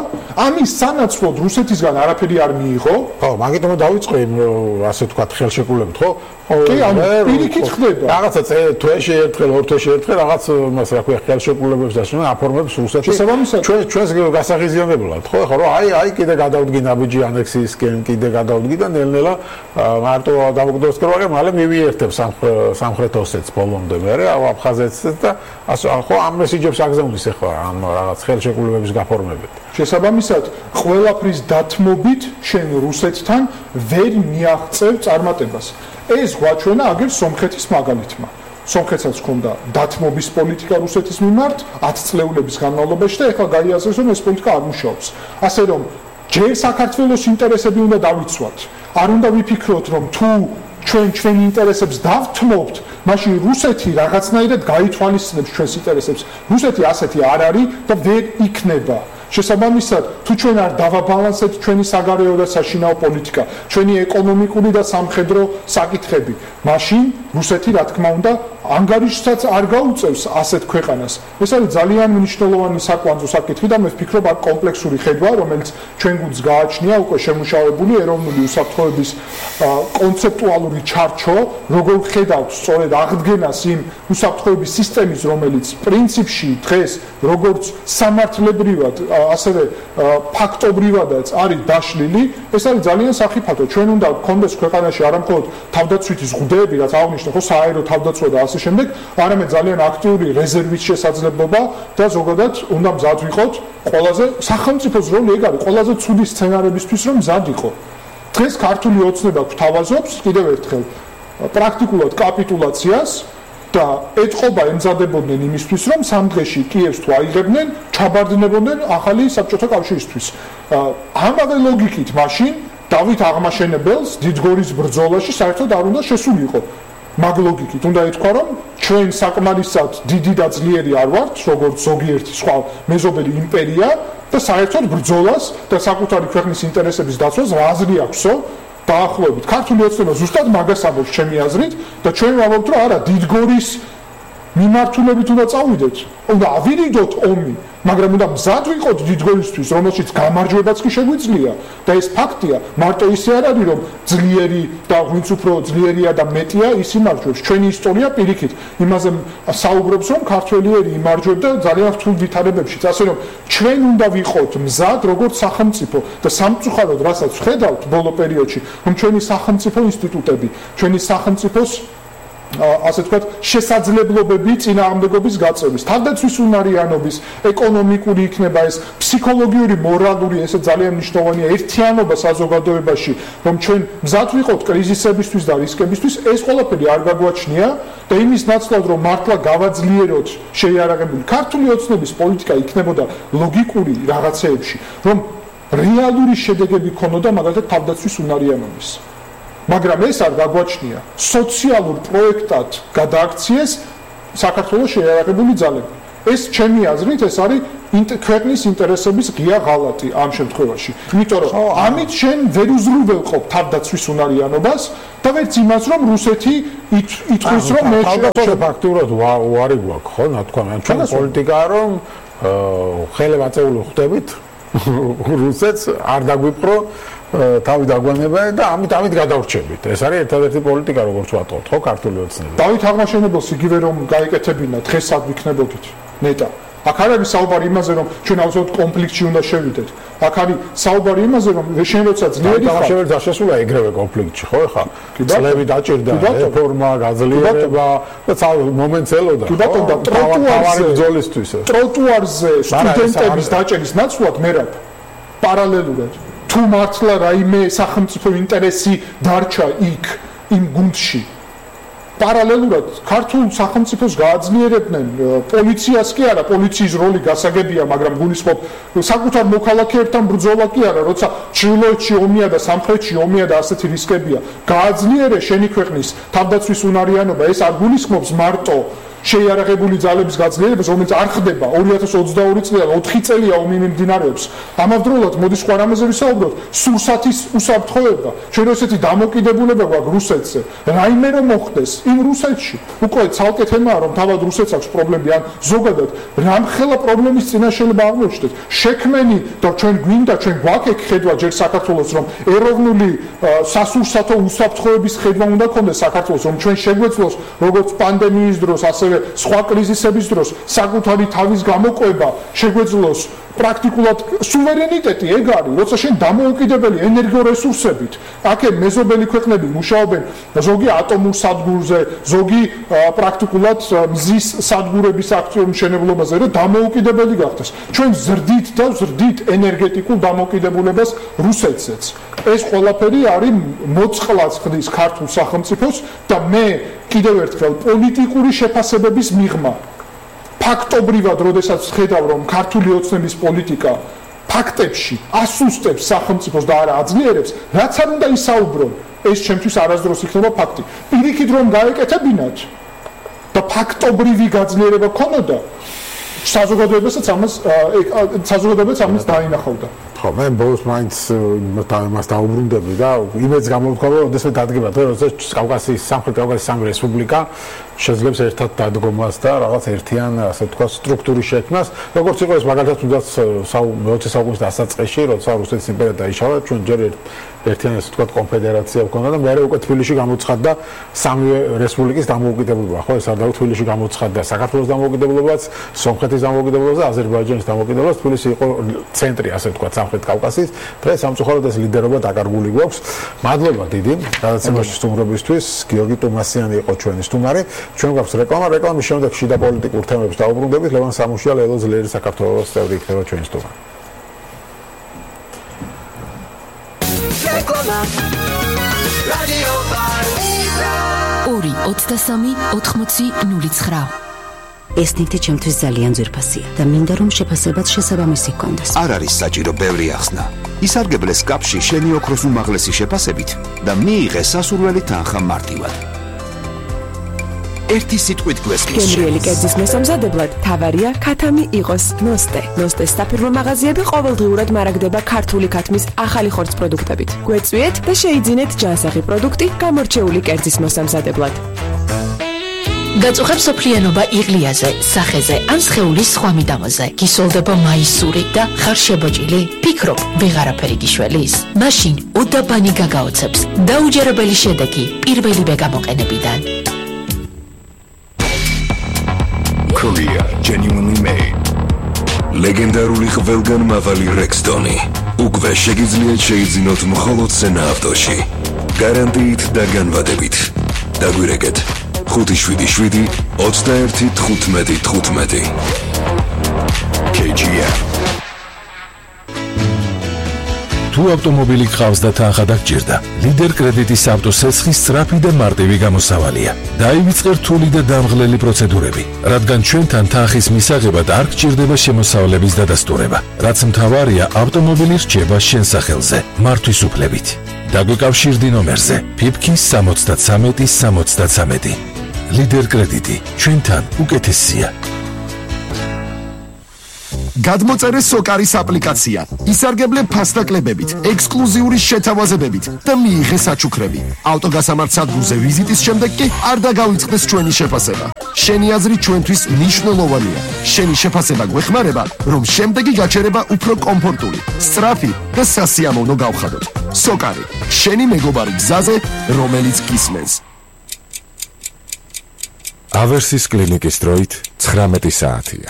ამის სანაცვლოდ რუსეთისგან არაფერი არ მიიღო ხო მაგიტომ დავიწყე ასე თქვა ხელშეკრულებით ხო კი ანუ პირიქით ხდება რაღაცა თვეში ერთხელ ორ თვეში ერთხელ რაღაც მას რა ქვია ხელშეკრულებებს და აფორმებს რუსეთი ჩვენ ჩვენს გასაღიზიანებლად ხო ხო რომ აი აი კიდე გადავდგი ნაბიჯი ანექსიისკენ კიდე გადავდგი და ნელ-ნელა მარტო დამკვიდროს კროაგე მალე მივიერთებს სამხრეთ ოსეთს ბოლომდე მე აფხაზეთს და ასე ხო ამ მესიჯებს აგზავნის ახლა ამ რაღაც ხელშეკრულებების გაფორმებით შესაბამისად ყველაფრის დათმობით შენ რუსეთთან ვერ მიაღწევ წარმატებას ეს გვაჩვენა აგერ სომხეთის მაგალითმა სომხეთსაც ჰქონდა დათმობის პოლიტიკა რუსეთის მიმართ ათი წლეულების განმავლობაში და ეხლა გაიაზრეს რომ ეს პოლიტიკა არ მუშაობს ასე რომ ჯერ საქართველოს ინტერესები უნდა დავიცვათ არ უნდა ვიფიქროთ რომ თუ ჩვენ ჩვენი ინტერესებს დავთმობთ მაშინ რუსეთი რაღაცნაირად გაითვალისწინებს ჩვენს ინტერესებს რუსეთი ასეთი არ არის და ვერ იქნება შესაბამისად თუ ჩვენ არ დავაბალანსებთ ჩვენი საგარეო და საშინაო პოლიტიკა ჩვენი ეკონომიკური და სამხედრო საკითხები მაშინ რუსეთი რა თქმა უნდა ანგარიშსაც არ გაუწევს ასეთ ქვეყანას ეს არის ძალიან მნიშვნელოვანი საკვანძო საკითხი და მე ვფიქრობ აქ კომპლექსური ხედვა რომელიც ჩვენ გულს გააჩნია უკვე შემუშავებული ეროვნული უსაფრთხოების კონცეპტუალური ჩარჩო როგორ ხედავთ სწორედ აღდგენას იმ უსაფრთხოების სისტემის რომელიც პრინციპში დღეს როგორც სამართლებრივად ასევე ფაქტობრივადაც არის დაშლილი ეს არის ძალიან სახიფათო ჩვენ უნდა გქონდეს ქვეყანაში არა მხოლოდ თავდაცვითი ზღუდეები რაც აღნიშნე ხო საერო თავდაცვა და ასე შემდეგ არამედ ძალიან აქტიური რეზერვის შესაძლებლობა და ზოგადად უნდა მზად ვიყოთ ყველაზე სახელმწიფოს როლი ეგ არის ყველაზე ცუდი სცენარებისთვის რომ მზად იყო დღეს ქართული ოცნება გვთავაზობს კიდევ ერთხელ პრაქტიკულად კაპიტულაციას და ეთყობა ემზადებოდნენ იმისთვის რომ სამ დღეში კიევს თუ აიღებდნენ ჩაბარდნებოდნენ ახალი საბჭოთა კავშირისთვის ამავე ლოგიკით მაშინ დავით აღმაშენებელს დიდგორის ბრძოლაში საერთოდ არ უნდა შესულიყო მაგ ლოგიკით უნდა ეთქვა რომ ჩვენ საკმარისად დიდი და ძლიერი არ ვართ როგორც ზოგიერთი სხვა მეზობელი იმპერია და საერთოდ ბრძოლას და საკუთარი ქვეყნის ინტერესების დაცვას რა აზრი აქვსო დაახლოებით ქართული ოცნება ზუსტად მაგას ამბობს ჩემი აზრით და ჩვენ ვამბობთ რომ არა დიდგორის მიმართულებით უნდა წავიდეთ უნდა ავირიდოთ ომი მაგრამ უნდა მზად ვიყოთ დიდგორისთვის რომელშიც გამარჯვებაც კი შეგვიძლია და ეს ფაქტია მარტო ისე არ არის რომ ძლიერი და ვინც უფრო ძლიერია და მეტია ის იმარჯვებს ჩვენი ისტორია პირიქით იმაზე საუბრობს რომ ქართველიერი იმარჯვებდა ძალიან რთულ ვითარებებშიც ასე რომ ჩვენ უნდა ვიყოთ მზად როგორც სახელმწიფო და სამწუხაროდ რასაც ვხედავთ ბოლო პერიოდში რომ ჩვენი სახელმწიფო ინსტიტუტები ჩვენი სახელმწიფოს ასე ვთქვათ შესაძლებლობები წინააღმდეგობის გაწევის თავდაცვის უნარიანობის ეკონომიკური იქნება ეს ფსიქოლოგიური მორალური ესე ძალიან მნიშვნელოვანია ერთიანობა საზოგადოებაში რომ ჩვენ მზად ვიყოთ კრიზისებისთვის და რისკებისთვის ეს ყველაფერი არ გაგვაჩნია და იმის ნაცვლად რომ მართლა გავაძლიეროთ შეიარაღებული ქართული ოცნების პოლიტიკა იქნებოდა ლოგიკური რაღაცეებში რომ რეალური შედეგები ქონოდა მაგალითად თავდაცვის უნარიანობის მაგრამ ეს არ გაგვაჩნია სოციალურ პროექტად გადააქციეს საქართველოს შეიარაღებული ძალები ეს ჩემი აზრით ეს არის ქვეყნის ინტერესების ღია ღალატი ამ შემთხვევაში იმიტომ რომ ამით შენ ვერ უზრუნველყოფ თავდაცვის უნარიანობას და ვერც იმას რომ რუსეთი ითხოვს რომ მე თავდაცვა ფაქტურად უარი გვაქვს ხო ნათქვამი ჩვენ პოლიტიკაა რომ ხელებაწეული ხდებით რუსეთს არ დაგვიპყრო თავი დაგვანება და ამით ამით გადავრჩებით. ეს არის ერთადერთი პოლიტიკა როგორც ვატყობთ, ხო, ქართული ოცნება. დავით აღმაშენებელს იგივე რომ გაიკეთებინა დღეს სად ვიქნებოდით? ნეტა. აქ არ არის საუბარი იმაზე, რომ ჩვენ ავზოთ კონფლიქტში უნდა შევიდეთ. აქ არის საუბარი იმაზე, რომ შენ როცა ძლიერი ხარ, შევერ დასასრულა ეგრევე კონფლიქტში, ხო ხა? წლები დაჭირდა, რეფორმა, გაძლიერება და მომენტს ელოდა. კი ბატონო, და ტროტუარზე ბრძოლისთვის. ტროტუარზე სტუდენტების დაჭერის ნაცვლად მერაბ პარალელურად თუ მართლა რაიმე სახელმწიფო ინტერესი დარჩა იქ იმ გუნდში პარალელურად ქართულ სახელმწიფოს გააძლიერებდნენ პოლიციას კი არა პოლიციის როლი გასაგებია მაგრამ გულისხმობ საკუთარ მოქალაქეებთან ბრძოლა კი არა როცა ჩრდილოეთში ომია და სამხრეთში ომია და ასეთი რისკებია გააძლიერე შენი ქვეყნის თავდაცვის უნარიანობა ეს არ გულისხმობს მარტო შეიარაღებული ძალების გაძლიერებას, რომელიც არ ხდება ორი ათას ოცდაორი წლიდან ოთხი წელია ომი მიმდინარეობს. ამავდროულად მოდი სხვა რამეზე ვისაუბროთ, სურსათის უსაფრთხოება, ჩვენ ესეთი დამოკიდებულება გვაქვს რუსეთზე. რაიმე რომ მოხდეს იმ რუსეთში, უკვე ცალკე თემაა, რომ თავად რუსეთს აქვს პრობლემები, ან ზოგადად რამხელა პრობლემის წინაშე შეიძლება აღმოჩნდეთ. შექმენი და ჩვენ გვინდა, ჩვენ გვაქვს ხედვა ჯერ საქართველოს, რომ ეროვნული სასურსათო უსაფრთხოების ხედვა უნდა ქონდეს საქართველოს, რომ ჩვენ შეგვეძლოს როგორც პანდემიის დროს, ასევე სხვა კრიზისების დროს საკუთარი თავის გამოყვება შეგვეძლოს პრაქტიკულად სუვერენიტეტი ეგ არის, როცა შენ დამოუკიდებელი ენერგორესურსებით, აქ მეზობელი ქვეყნები მუშაობენ ზოგი ატომურ სადგურზე, ზოგი პრაქტიკულად მზის სადგურების აქტიურ მშენებლობაზე, რომ დამოუკიდებელი გახდეს. ჩვენ ზრდით და ზრდით ენერგეტიკულ დამოუკიდებულებას რუსეთზეც. ეს ყველაფერი არის მოწყლას ხდის ქართულ სახელმწიფოს და მე კიდევ ერთხელ პოლიტიკური შეფასებების მიღმა ფაქტობრივად, როდესაც ხედავ, რომ ქართული ოცნების პოლიტიკა ფაქტებში ასუსტებს სახელმწიფოს და არა აძლიერებს, რაც არ უნდა ისაუბრო, ეს ჩემთვის არასდროს იქნება ფაქტი. პირიქით რომ გაეკეთებინათ და ფაქტობრივი გაძლიერება ქონოდა, საზოგადოებასაც ამას საზოგადოებაც ამას დაინახავდა. ხო, მე ბოლოს მაინც მას დაუბრუნდები და იმედს გამოვთქვამი, რომ ოდესმე დადგება დღე, როდესაც კავკასიის სამხრეთ კავკასიის სამი რესპუბლიკა შეძლებს ერთად დადგომას და რაღაც ერთიან, ასე ვთქვათ, სტრუქტურის შექმნას, როგორც იყო ეს მაგალითად თუნდაც მეოცე საუკუნის დასაწყისში, როცა რუსეთის იმპერია დაიშალა, ჩვენ ჯერ ერთიანი, ასე ვთქვათ, კონფედერაცია ჰქონდა და მეორე უკვე თბილისში გამოცხადდა სამივე რესპუბლიკის დამოუკიდებლობა. ხო, ეს არ დაუ თბილისში გამოცხადდა საქართველოს დამოუკიდებლობაც, სომხეთის დამოუკიდებლობაც და აზერბაიჯანის დამოუკიდებლობაც. თბილისი იყო ცენტრი, ასე ვთქვათ, სამხრეთ კავკასიის. დღეს სამწუხაროდ ეს ლიდერობა დაკარგული გვაქვს. მადლობა დიდი გადაცემაში სტუმრობისთვის. გიორგი ტუმასიანი იყო ჩვენი სტუმარი. ჩვენ გვაქვს რეკლამა, რეკლამის შემდეგ შიდა პოლიტიკურ თემებს დაუბრუნდებით. ლევან სამუშია, ლელო ძლიერი საქართველოს წევრი იქნება ჩვენი სტუმარი. ორი ოცდასამი ოთხმოცი ნული ცხრა ეს ნივთი ჩემთვის ძალიან ძვირფასია და მინდა რომ შეფასებაც შესაბამისი ჰქონდეს. არ არის საჭირო ბევრი ახსნა. ისარგებლე სკაფში შენი ოქროს უმაღლესი შეფასებით და მიიღე სასურველი თანხა მარტივად. ერთი სიტყვით გვესმის. გემრიელი კერძის მოსამზადებლად თავარია ქათამი იყოს ნოსტე. ნოსტეს საფირმო მაღაზიები ყოველდღიურად მარაგდება ქართული ქათმის ახალი ხორცს პროდუქტებით. გვეწვიეთ და შეიძინეთ ჯანსაღი პროდუქტი გამორჩეული კერძის მოსამზადებლად. გაწუხებ სოფლიანობა იღლიაზე, სახეზე ან სხეულის სხვა მიდამოზე. გისოლდება მაისური და ხარ შებოჭილი? ფიქრობ, ვეღარაფერი გიშველის? მაშინ უდაბანი გაგაოცებს. დაუჯერებელი შედეგი პირველივე გამოყენებიდან. Korea genuinely made. ლეგენდარული ყველგანმავალი Rexton-ი. უკვე შეგიძლიათ შეიძინოთ მხოლოდ სენა ავტოში. გარანტიით და განვადებით. დაგვირეკეთ ხუთი შვიდი შვიდი ოცდაერთი თხუთმეტი თხუთმეტი. კეი ჯი ემ. თუ ავტომობილი გყავს და თანხა დაგჭირდა, ლიდერ კრედიტის ავტოსესხის სწრაფი და მარტივი გამოსავალია. დაივიწყე რთული და დამღლელი პროცედურები, რადგან ჩვენთან თანხის მისაღებად არ გჭირდება შემოსავლების დადასტურება, რაც მთავარია ავტომობილი რჩება შენ სახელზე, მართვის უფლებით. დაგვიკავშირდი ნომერზე ფიფკი სამოცდათრამეტი სამოცდათრამეტი. ლიდერ კრედიტი, ჩვენთან უკეთესია. გადმოწერე სოკარის აპლიკაცია, ისარგებლე ფასდაკლებებით, ექსკლუზიური შეთავაზებებით და მიიღე საჩუქრები. ავტოგასამართ სადგურზე ვიზიტის შემდეგ კი არ დაგავიწყდეს ჩვენი შეფასება. შენი აზრი ჩვენთვის მნიშვნელოვანია. შენი შეფასება გვეხმარება, რომ შემდეგი გაჩერება უფრო კომფორტული, სწრაფი და სასიამოვნო გავხადოთ. სოკარი, შენი მეგობარი გზაზე, რომელიც გისმენს. ავერსის კლინიკის დროით ცხრამეტი საათია.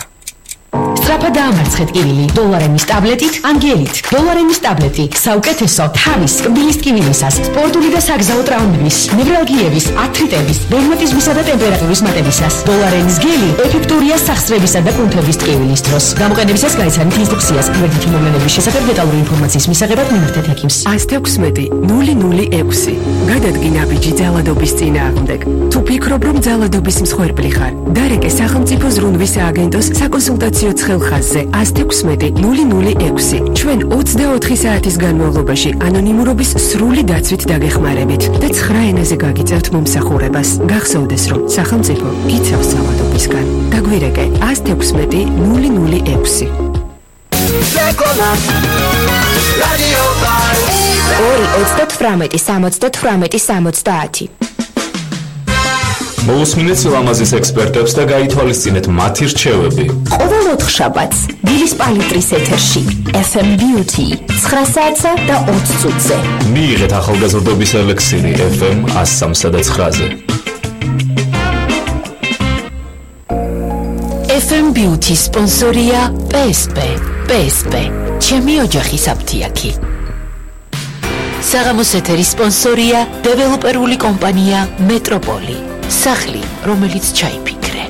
სწრაფად დაამარცხეთ კივილი დოლარენის ტაბლეტით ანგელით. დოლარენის ტაბლეტი საუკეთესო თავის კბილის ტკივილისას, სპორტული და საგზაო ტრაუმების, ნევრალგიების, ართრიტების, რევმატიზმისა და ტემპერატურის მატებისას. დოლარენის გელი ეფექტურია სახსრებისა და კუნთების ტკივილის დროს. გამოყენებისას გაიცანით ინსტრუქციას. გვერდითი მოვლენების შესახებ დეტალური ინფორმაციის მისაღებად მიმართეთ ექიმს. ას თექვსმეტი ნული ნული ექვსი. გადადგინა ბიჭი ძალადობის წინააღმდეგ. თუ ფიქრობ, რომ ძალადობის მსხვერპლი ხარ, დარეკე სახელმწიფო ზრუნვის სააგენტოს საკონსულტაციო ცხელხაზზე ას თექვსმეტი ნული ნული ექვსი. ჩვენ ოცდაოთხი საათის განმავლობაში ანონიმურობის სრული დაცვით დაგეხმარებით და ცხრა ენაზე გაგიწევთ მომსახურებას. გახსოვდეს, რომ სახელმწიფო გიცავს ძალადობისგან. დაგვირეკე ას თექვსმეტი ნული ნული ექვსი. ორი ოცდათვრამეტი სამოცდათვრამეტი სამოცდაათი. მოусმინეთ სილამაზის ექსპერტებს და გაითვალისწინეთ მათი რჩევები. ყოველ ოთხშაბათს დილის პალიტრის ეთერში ეფ ემ Beauty ცხრა საათსა და ოცი წუთზე. მიიღეთ ახალგაზრდობის ელექსირი ეფ ემ ას სამსა და ცხრაზე. ეფ ემ Beauty სპონსორია პე ეს პე. პე ეს პე ჩემი ოჯახის აფთიაქი. საღამოს ეთერის სპონსორია დეველოპერული კომპანია მეტროპოლი. სახლი, რომელიც ჩაიფიქრე.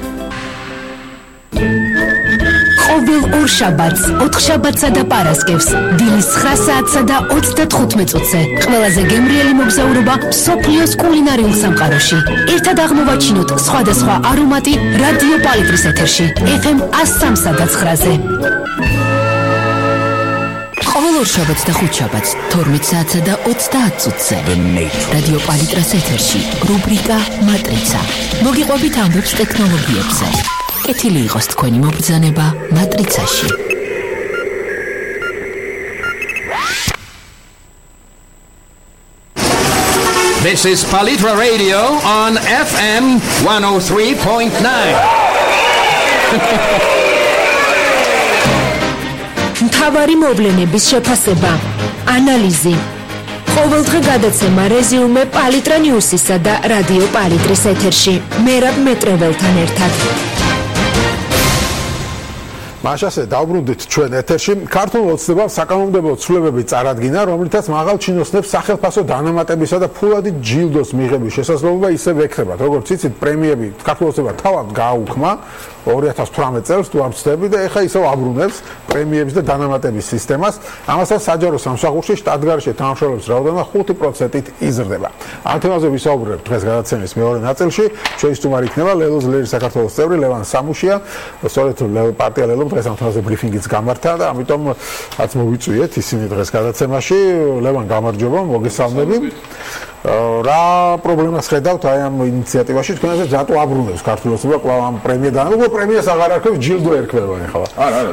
ყოველ ორ შაბათს, ოთხშაბათსა და პარასკევს, დილის ცხრა საათსა და ოცდათხუთმეტ წუთზე. ყველაზე გემრიელი მოგზაურობა მსოფლიოს კულინარიულ სამყაროში. ერთად აღმოვაჩინოთ სხვადასხვა არომატი რადიო პალიტრის ეთერში, ეფ ემ ას სამსა და ცხრაზე. ყოველ ორ შაბათს და ხუთშაბათს, თორმეტ საათსა და ოცდაათ წუთზე. რადიო პალიტრას ეთერში, რუბრიკა მატრიცა. მოგიყვებით ამბებს ტექნოლოგიებზე. კეთილი იყოს თქვენი მობრძანება მატრიცაში. This is Palitra Radio on F M one oh three point nine. მთავარი მოვლენების შეფასება, ანალიზი. ყოველდღე გადაცემა რეზიუმე პალიტრა ნიუსისა და რადიო პალიტრის ეთერში. მერაბ მეტრეველთან ერთად. მაშასე დავბრუნდით ჩვენ ეთერში. ქართულ ოცნებამ საკანონმდებლო ცვლილებები წარადგინა, რომლითაც მაღალ ჩინოსნებს სახელმწიფო დანამატებისა და ფულადი ჯილდოს მიღების შესაძლებლობა ისევ ექრებათ. როგორც იცით, პრემიები ქართულ ოცნებამ თავად გააუქმა ორი ათას თვრამეტ წელს თუ არ ვცდები და ეხლა ისევ აბრუნებს პრემიების და დანამატების სისტემას. ამასაც საჯარო სამსახურში შტატგარში თანამშრომლების რაოდენობა ხუთი პროცენტით იზრდება. ამ თემაზე ვისაუბრებ დღეს გადაცემის მეორე ნაწილში. ჩვენი სტუმარი იქნება ლელო ძლერი საქართველოს წევრი ლევან სამუშია. სწორედ პარტია ლელო დღეს ამ თემაზე ბრიფინგიც გამართა და ამიტომ რაც მოვიწვიეთ ისინი დღეს გადაცემაში. ლევან, გამარჯობა, მოგესალმები. რა პრობლემას ხედავთ აი ამ ინიციატივაში? თქვენაზე რატო აბრუნებს ქართულ ოცნება კვლავ ამ პრემიიდან? უკვე პრემიას აღარ არქევს, ჯილდო ერქვა ახლა. არა, არა,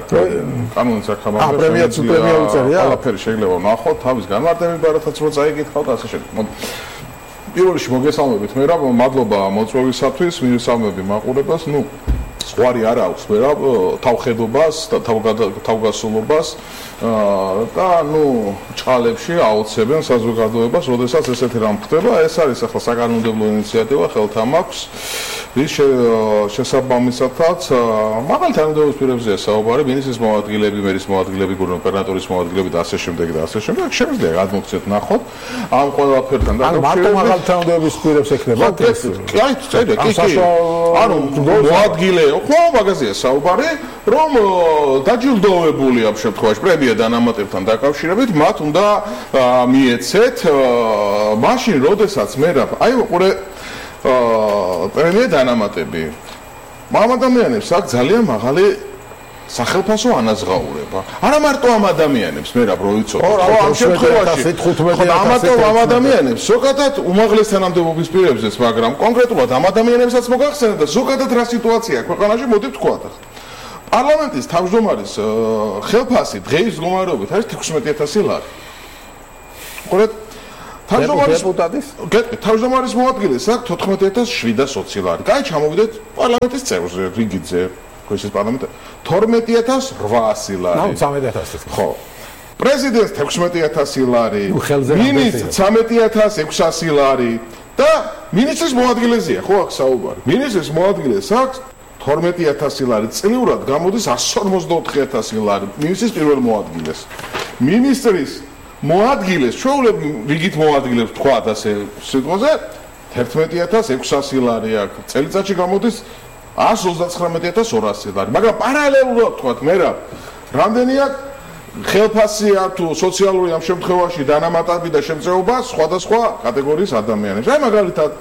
კანონის აქამაა. აა, პრემიაც პრემია უწერია. ყველაფერი შეიძლება ვნახოთ, თავის განმარტები ბარათაც რო წაიგითხავთ, ასე შემდეგ. მოდი. პირველ რიგში მოგესალმებით, მე რა მადლობა მოწვევისათვის, მივესალმები მაყურებას, ნუ სხვარი არ აქვს, მე რა თავხედობას და თავგასულობას და ნუ ჭყალებში აუცებენ საზოგადოებას, როდესაც ესეთი რამ ხდება. ეს არის ახლა საკანონმდებლო ინიციატივა, ხელთან აქვს. რის შესაბამისათაც მაღალი თანამდებობის პირებზეა საუბარი, მინისტრის მოადგილეები, მერის მოადგილეები, გუბერნატორის მოადგილეები და ასე შემდეგ და ასე შემდეგ. შემიძლია გადმოგცეთ ნახოთ ამ ყველაფერთან და ანუ მარტო მაღალი თანამდებობის პირებს ექნება ეს? კი, აი, წერია, კი, კი. ანუ მოადგილე, ხო, მაგაზია საუბარი, რომ დაჯილდოვებული ამ შემთხვევაში პრემია დანამატებთან დაკავშირებით მათ უნდა მიეცეთ მაშინ, როდესაც მე რა, აი, ყურე პრემია დანამატები. ამ ადამიანებს აქვს ძალიან მაღალი სახელმწიფო ანაზღაურება. არა მარტო ამ ადამიანებს, მე რა პროიცოთ. ხო, ამ შემთხვევაში ამათო ამ ადამიანებს, ზოგადად უმაღლეს თანამდებობის პირებზეც, მაგრამ კონკრეტულად ამ ადამიანებსაც მოგახსენებთ და ზოგადად რა სიტუაციაა ქვეყანაში, მოდი ვთქვათ. პარლამენტის თავმჯდომარის ხელფასი დღეის მდგომარეობით არის თექვსმეტი ათასი ლარი. ყურეთ დეპუტატის თავმჯდომარის მოადგილეს აქვს თოთხმეტი ათას შვიდას ოცი ლარი. კაი, ჩამოვიდეთ პარლამენტის წევრზე, რიგიძე, ქუჩის პარლამენტი თორმეტი ათას რვაასი ლარი. ნუ ცამეტი ათასი. ხო. პრეზიდენტს თექვსმეტი ათასი ლარი. მინისტრს ცამეტი ათას ექვსასი ლარი და მინისტრის მოადგილეზეა, ხო აქ საუბარი. მინისტრის მოადგილეს აქვს თორმეტი ათასი ლარი, წლიურად გამოდის εκατს ორმოცდაოთხი ათასი ლარი მინისტრის პირველ მოადგილეს. მინისტრის მოადგილეს, ჩვეულებრივ რიგით მოადგილებს თქვათ ასე სიტყვაზე თერთმეტი ათას ექვსასი ლარი აქვს. წელიწადში გამოდის εκατს ოცდაცხრამეტი ათას ორასი ლარი. მაგრამ პარალელურად თქვათ მე რა რამდენი აქვს ხელფასია თუ სოციალური ამ შემთხვევაში დანამატები და შემწეობა სხვადასხვა კატეგორიის ადამიანებს. აი მაგალითად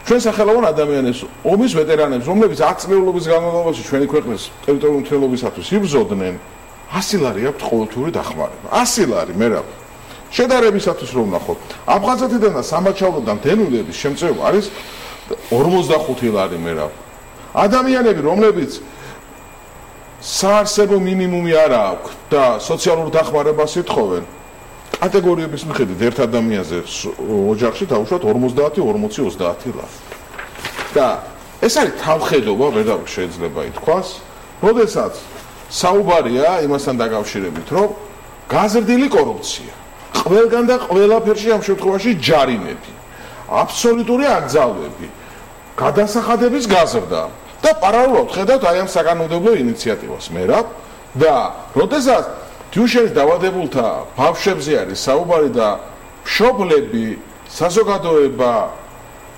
ჩვენ სახელოვან ადამიანებს, ომის ვეტერანებს, რომლებიც ათ წლეულობის განმავლობაში ჩვენი ქვეყნის ტერიტორიული მთლიანობისათვის იბრძოდნენ, ასი ლარი აქვთ ყოველთვიური დახმარება. ასი ლარი მე რა შედარებისათვის რომ ნახოთ, აფხაზეთიდან და სამაჩავლოდან დენვილების შემწეობა არის ორმოცდახუთი ლარი მე რა. ადამიანები, რომლებიც საარსებო მინიმუმი არ აქვს და სოციალურ დახმარებას ითხოვენ, კატეგორიების მიხედვით ერთ ადამიანზე ოჯახში დაუშვათ ორმოცდაათი ორმოცი ოცდაათი ლარი. და ეს არის თავხედობა, ვერ შეიძლება ითქვას, როდესაც საუბარია იმასთან დაკავშირებით, რომ გაზრდილი კორუფცია, ყველგან და ყველაფერში ამ შემთხვევაში ჯარიმები, აბსოლუტური აკრძალვები, გადასახადების გაზრდა და პარალელურად ხედავთ აი ამ საკანონმდებლო ინიციატივას მე რა და როდესაც თუშეთის დაავადებულთა ბავშვებზე არის საუბარი და მშობლები, საზოგადოება,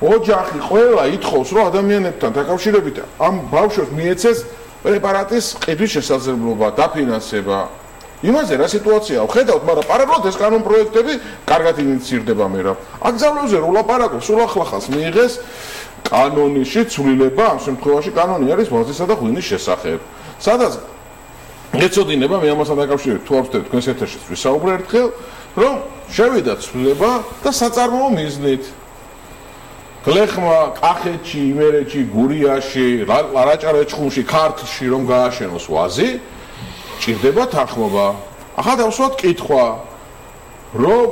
ოჯახი ყველა ითხოვს, რომ ადამიანებთან დაკავშირებით ამ ბავშვებს მიეცეს პრეპარატის ყიდვის შესაძლებლობა, დაფინანსება. იმაზე რა სიტუაციაა, ხედავთ, მაგრამ პარალელურად ეს კანონპროექტები კარგად ინიცირდება მე რა. აკრძალვებზე რო ლაპარაკობს, სულ ახლახანს მიიღეს კანონიში ცვლილება, ამ შემთხვევაში კანონი არის ვაზისა და ღვინის შესახებ. სადაც ეცოდინება მე ამასთან დაკავშირებით თუ ავსდეთ თქვენს ეთერშიც ვისაუბრე ერთხელ, რომ შევიდა ცვლილება და საწარმოო მიზნით. გლეხმა კახეთში, იმერეთში, გურიაში, რაჭა-ლეჩხუმში, ქართლში რომ გააშენოს ვაზი, ჭირდება თანხმობა. ახლა დავსვათ კითხვა, რომ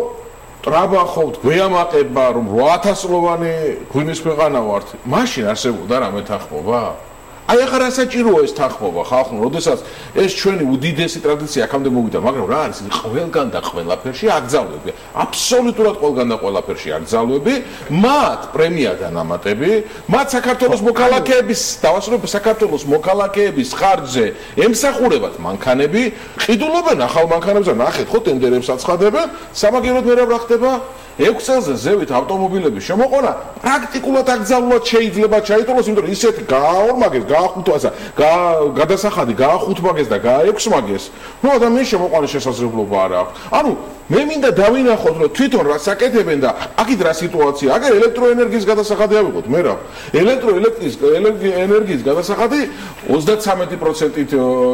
ტრაბახობთ, გვეამაყება, რომ რვა ათასლოვანი ღვინის ქვეყანა ვართ, მაშინ არსებობდა რამე თანხმობა? აი ახლა რა საჭიროა ეს თანხმობა ხალხო, როდესაც ეს ჩვენი უდიდესი ტრადიცია აქამდე მოვიდა, მაგრამ რა არის ყველგან და ყველაფერში აკრძალვები, აბსოლუტურად ყველგან და ყველაფერში აკრძალვები, მათ პრემია დანამატები, მათ საქართველოს მოქალაქეების, დავასრულებ საქართველოს მოქალაქეების ხარჯზე ემსახურებათ მანქანები, ყიდულობენ ახალ მანქანებს და ნახეთ ხო ტენდერებს აცხადებენ, სამაგიეროდ მე რა ხდება? ექვს წელზე ზევით ავტომობილების შემოყვანა პრაქტიკულად აკრძალულად შეიძლება ჩაიტოლოს, იმიტომ რომ ისეთი გააორმაგეს, გაახუთვასა, გადასახადი გაახუთმაგეს და გააექვსმაგეს, რომ ადამიანის შემოყვანის შესაძლებლობა არ აქვს. ანუ მე მინდა დავინახოთ, რომ თვითონ რა საკეთებენ და აქეთ რა სიტუაცია. აგერ ელექტროენერგიის გადასახადი ავიღოთ, მე რა. ელექტროელექტრის ენერგიის გადასახადი ოცდაცამეტი პროცენტით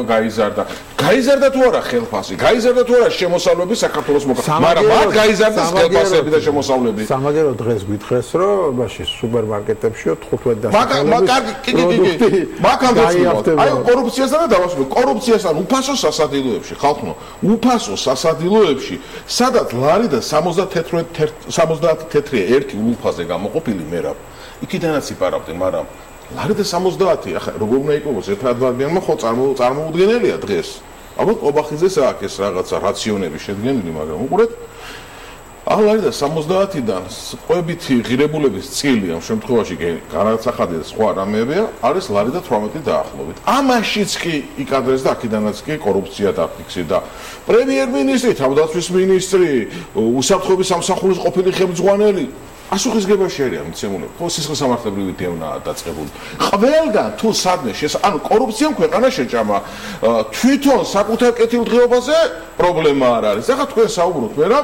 გაიზარდა. გაიზარდა თუ არა ხელფასი? გაიზარდა თუ არა შემოსავლები საქართველოს მოქალაქეებს? მაგრამ მათ გაიზარდა ხელფასები და შემოსავლები. სამაგერო დღეს გითხეს, რომ მაშინ სუპერმარკეტებში თხუთმეტ და პროდუქტი მაგალითად აი კორუფციასთან და დავასრულებ კორუფციასთან უფასო სასადილოებში ხალხო უფასო სასადილოებში სადაც ლარი და სამოცდაათი თეთრი ერთი ულუფაზე გამოყოფილი მე რა იქიდანაც იპარავდნენ, მაგრამ ლარი და სამოცდაათი ახლა როგორ უნდა იყოს ერთ ადამიანმა ხო წარმოუდგენელია დღეს. ალბათ ობახიძეს აქვს ეს რაღაცა რაციონები შედგენილი, მაგრამ უყურეთ ალარი და სამოცდაათიდან ყვებითი ღირებულების წილი ამ შემთხვევაში განაცახადი და სხვა რამეებია არის ლარი და თვრამეტი დაახლოებით. ამაშიც კი იკადრეს და აქედანაც კი კორუფცია დაფიქსირდა. პრემიერ-მინისტრი, თავდაცვის მინისტრი, უსაფრთხოების სამსახურის ყოფილი ხელმძღვანელი ასუხისგებაში არის ამცემული. ხო სისხლსამართლებრივი დევნაა დაწყებული. ყველგან თუ სადმე შეს ანუ კორუფციამ ქვეყანა შეჭამა. თვითონ საკუთარ კეთილდღეობაზე პრობლემა არ არის. ახლა თქვენ საუბრობთ მე რა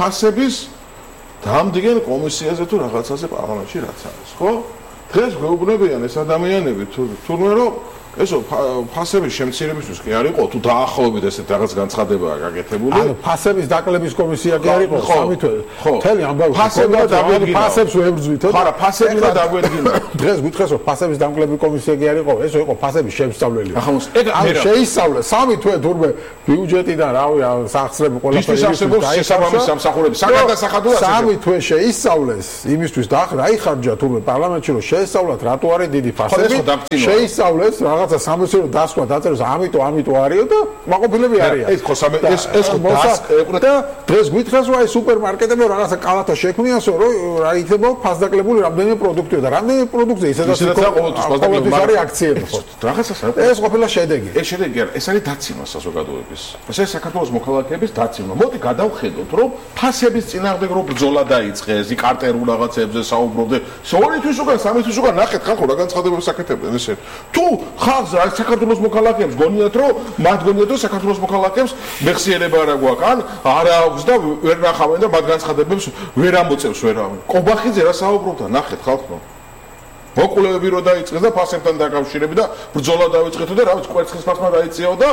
ფასების დამდგენ კომისიაზე თუ რაღაცაზე პარლამენტში რაც არის, ხო? დღეს გვეუბნებიან ეს ადამიანები თურმე რომ ესო ფასების შემცირებისთვის კი არ იყო თუ დაახლოებით ესეთ რაღაც განცხადებაა გაკეთებული. ანუ ფასების დაკლების კომისია კი არ იყო სამი თვე. მთელი ამბავი ფასებს ვებრძვითო. ხარა ფასები და დაგვედგინა. დღეს გითხეს რომ ფასების დამკლების კომისია კი არ იყო, ესო იყო ფასების შემსწავლელი. ახლა ეგ ანუ შეისწავლე სამი თვე თურმე ბიუჯეტიდან რავი სახსრები ყველაფერი შესაბამის სამსახურები საგადასახადოა სამი თვე შეისწავლეს იმისთვის და ახლა აი ხარჯა თურმე პარლამენტში რომ შეესწავლათ რატო არის დიდი ფასები შეისწავლეს რაღაცა სამეცნიერო დასკვა დაწეროს ამიტომ ამიტომ არისო და მაყოფილები არიან. ეს ხო სამე ეს ეს ხო დასკვა და დღეს გითხრას რომ აი სუპერმარკეტებში რაღაცა კალათა შექმნიასო რომ რა იქნება ფასდაკლებული რამდენიმე პროდუქტია და რამდენიმე პროდუქტზე ისედაც ყოველთვის არის აქციები ხო. რაღაცა ეს ყოფილა შედეგი. ეს შედეგი არა, ეს არის დაცინვა საზოგადოების. ეს საქართველოს მოქალაქეების დაცინვა. მოდი გადავხედოთ რომ ფასების წინააღმდეგ რო ბრძოლა დაიწყეს, იქ კარტერულ რაღაცებზე საუბრობდნენ. ორი თვის უკან, სამი თვის უკან ნახეთ ხალხო რა განცხადებებს აკეთებდნენ ესე. თუ ხალხს რა საქართველოს მოქალაქეებს გონიათ რომ მათ გონიათ რომ საქართველოს მოქალაქეებს მეხსიერება არა გვაქვს, ან არა აქვს და ვერ ნახავენ და მათ განცხადებებს ვერ ამოწევს ვერავინ. კობახიძე რა საუბრობდა, ნახეთ ხალხო. მოკვლევები რო დაიწყეს და ფასებთან დაკავშირებით და ბრძოლა დაიწყეთო და რა ვიცი კვერცხის ფასმა დაიწიაო და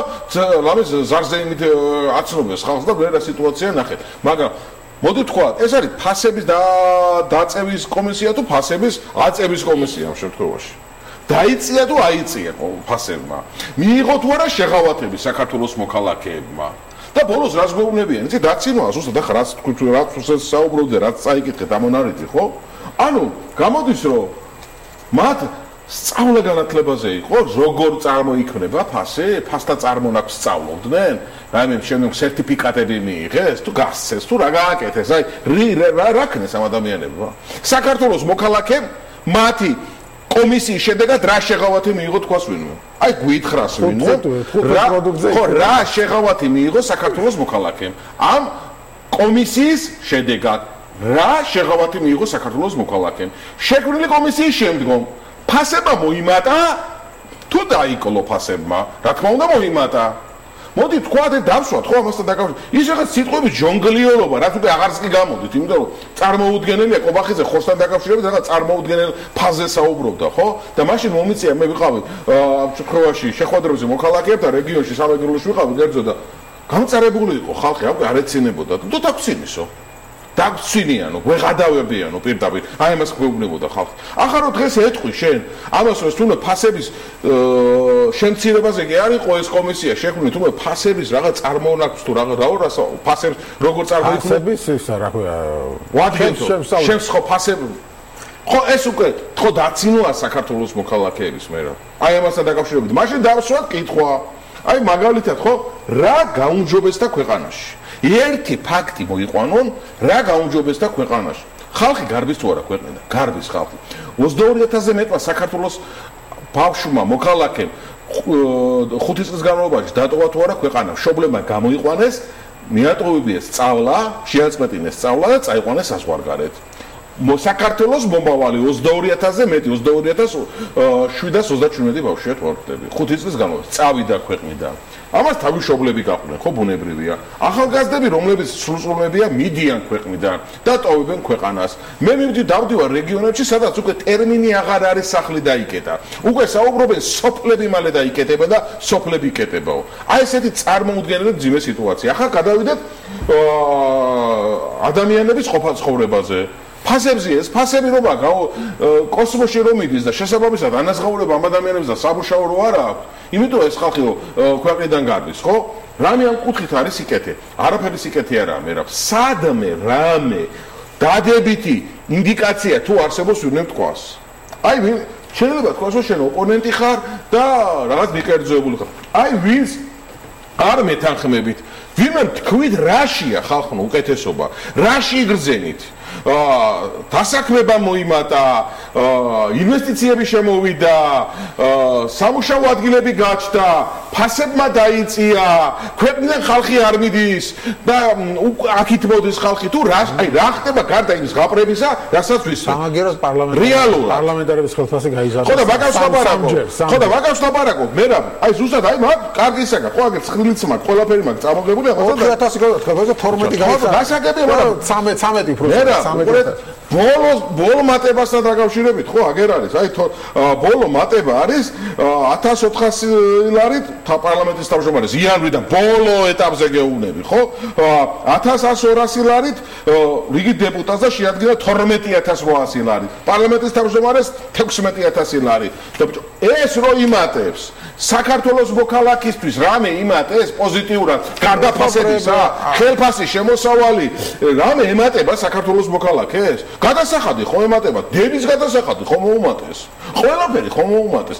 ლამის ზარზე იმით აცნობეს ხალხს და ვერა სიტუაცია ნახეთ. მაგრამ მოდი თქვა, ეს არის ფასების და დაწევის კომისია თუ ფასების აწევის კომისია ამ შემთხვევაში. დაიწია თუ აიწია ფასებმა. მიიღო თუ არა შეღავათები საქართველოს მოქალაქეებმა. და ბოლოს რას გვეუბნებიან? იცი დაცინვა, ზუსტად ახლა რაც თქვით, რაც საუბრობდე, რაც წაიკითხეთ ამ მონარიდი, ხო? ანუ გამოდის რომ მათ სწავლა განათლებაზე იყო, როგორ წარმოიქმნება ფასი, ფასთა წარმონაქმნს სწავლობდნენ, რაიმე შემდგომ სერტიფიკატები მიიღეს, თუ გასცეს, თუ რა გააკეთეს, აი რა რა ქნეს ამ ადამიანებმა. საქართველოს მოქალაქემ მათი კომისიის შედეგად რა შეღავათი მიიღო თქვას ვინმე? აი გვითხრას ვინმე? ხო, რა შეღავათი მიიღო საქართველოს მოქალაქემ ამ კომისიის შედეგად? რა შეღავათი მიიღო საქართველოს მოქალაქემ? შექმნილი კომისიის შემდგომ ფასება მოიმატა თუ დაიკლო ფასებმა? რა თქმა უნდა მოიმატა. მოდი თქვათ დავსვათ ხო ამასთან დაკავშირებით. ის რაღაც სიტყვების ჯონგლიორობა, რაც უკვე აღარც კი გამოდით, იმიტომ რომ წარმოუდგენელია კობახიძე ხორცთან დაკავშირებით რაღაც წარმოუდგენელ ფაზზე საუბრობდა, ხო? და მაშინ მომიწია მე ვიყავი ამ შემთხვევაში შეხვედრებზე მოქალაქეებთან რეგიონში სამეგრელოში ვიყავი კერძო და გამწარებული იყო ხალხი, აკვე არ ეცინებოდა. თუ დაგცინისო. დაგცინიანო, ვეღადავებიანო პირდაპირ. აი ამას გვეუბნებოდა ხალხი. ახლა რომ დღეს ეტყვი შენ, ამას რომ თუნდაც ფასების შემცირებაზე კი არ იყო ეს კომისია შექმნილი, თუნდაც ფასების რაღაც წარმონაქმნს თუ რაღაც რა რასა ფასებს როგორ წარმოიქმნება? ფასების ისა რა ქვია? ვადგენთო. შენს ხო ფასები ხო ეს უკვე ხო დაცინოა საქართველოს მოქალაქეების მე რა. აი ამასთან დაკავშირებით. მაშინ დავსვათ კითხვა. აი მაგალითად ხო რა გაუმჯობესდა ქვეყანაში? ერთი ფაქტი მოიყვანონ რა გაუმჯობესდა ქვეყანაში. ხალხი გარბის თუ არა ქვეყნიდან? გარბის ხალხი. ოცდაორი ათასზე მეტმა საქართველოს ბავშვმა მოქალაქემ ხუთი წლის განმავლობაში დატოვა თუ არა ქვეყანა. მშობლებმა გამოიყვანეს, მიატოვებიეს სწავლა, შეაწყვეტინეს სწავლა და წაიყვანეს საზღვარგარეთ. საქართველოს მომავალი ოცდაორი ათასზე მეტი, ოცდაორი ათას შვიდას ოცდაჩვიდმეტი ბავშვია თვალყდები. ხუთი წლის განმავლობაში წავიდა ქვეყნიდან. ამას თავი მშობლები გაყვნენ, ხო ბუნებრივია. ახალგაზრდები, რომლებიც სრულწლოვანია, მიდიან ქვეყნიდან და ტოვებენ ქვეყანას. მე მივდი დავდივარ რეგიონებში, სადაც უკვე ტერმინი აღარ არის სახლი დაიკეტა. უკვე საუბრობენ სოფლები მალე დაიკეტება და სოფლები იკეტებაო. აი ესეთი წარმოუდგენელი ძიმე სიტუაცია. ახლა გადავიდეთ ადამიანების ყოფა ცხოვრებაზე. ფასებზე ეს ფასები რომ აქვს კოსმოსში რომ მიდის და შესაბამისად ანაზღაურება ამ ადამიანებს და სამუშაო რო არა აქვს, იმიტომ ეს ხალხი ქვეყნიდან გარბის, ხო? რამე ამ კუთხით არის სიკეთე. არაფერი სიკეთე არაა, მე რა. სადმე რამე დადებითი ინდიკაცია თუ არსებობს ვინმე თქვას. აი ვინ შეიძლება თქვას რომ შენ ოპონენტი ხარ და რაღაც მიკერძოებული ხარ. აი ვინც არ მეთანხმებით, ვინმე თქვით რაშია ხალხო უკეთესობა, რაში იგრძენით? დასაქმება მოიმატა, ინვესტიციები შემოვიდა, სამუშაო ადგილები გაჩნდა, ფასებმა დაიწია, ქვეყნიდან ხალხი არ მიდის და აქით მოდის ხალხი თუ რა აი რა ხდება გარდა იმის გაპრებისა, რასაც ვისმენთ. სამაგეროს პარლამენტარების პარლამენტარების ხელფასი გაიზარდა. ხო და მაგას ლაპარაკობ. ხო და მაგას ლაპარაკობ. მე რა აი ზუსტად აი მაგ კარგი ისაკა, ხო აგერ ცხრილიც მაგ ყველაფერი მაგ წამოღებული ახლა და ოთხი ათასი გავა თორმეტი გაიზარდა. გასაგებია მაგრამ ცამეტი პროცენტი ბოლო ბოლო მატებასთან დაკავშირებით ხო აგერ არის აი ბოლო მატება არის ათას ოთხასი ლარით პარლამენტის თავმჯდომარეს იანვრიდან ბოლო ეტაპზე გეუბნები ხო ათას ორასი ლარით რიგი დეპუტატს და შეადგინა თორმეტი ათას რვაასი ლარით პარლამენტის თავმჯდომარეს თექვსმეტი ათასი ლარით ეს რო იმატებს საქართველოს მოქალაქისთვის რამე იმატეს პოზიტიურად გარდა ფასებისა ხელფასი შემოსავალი რამე ემატება საქართველოს მოქალაქეს გადასახადი ხომ ემატება დედის გადასახადი ხომ მოუმატეს ყველაფერი ხომ მოუმატეს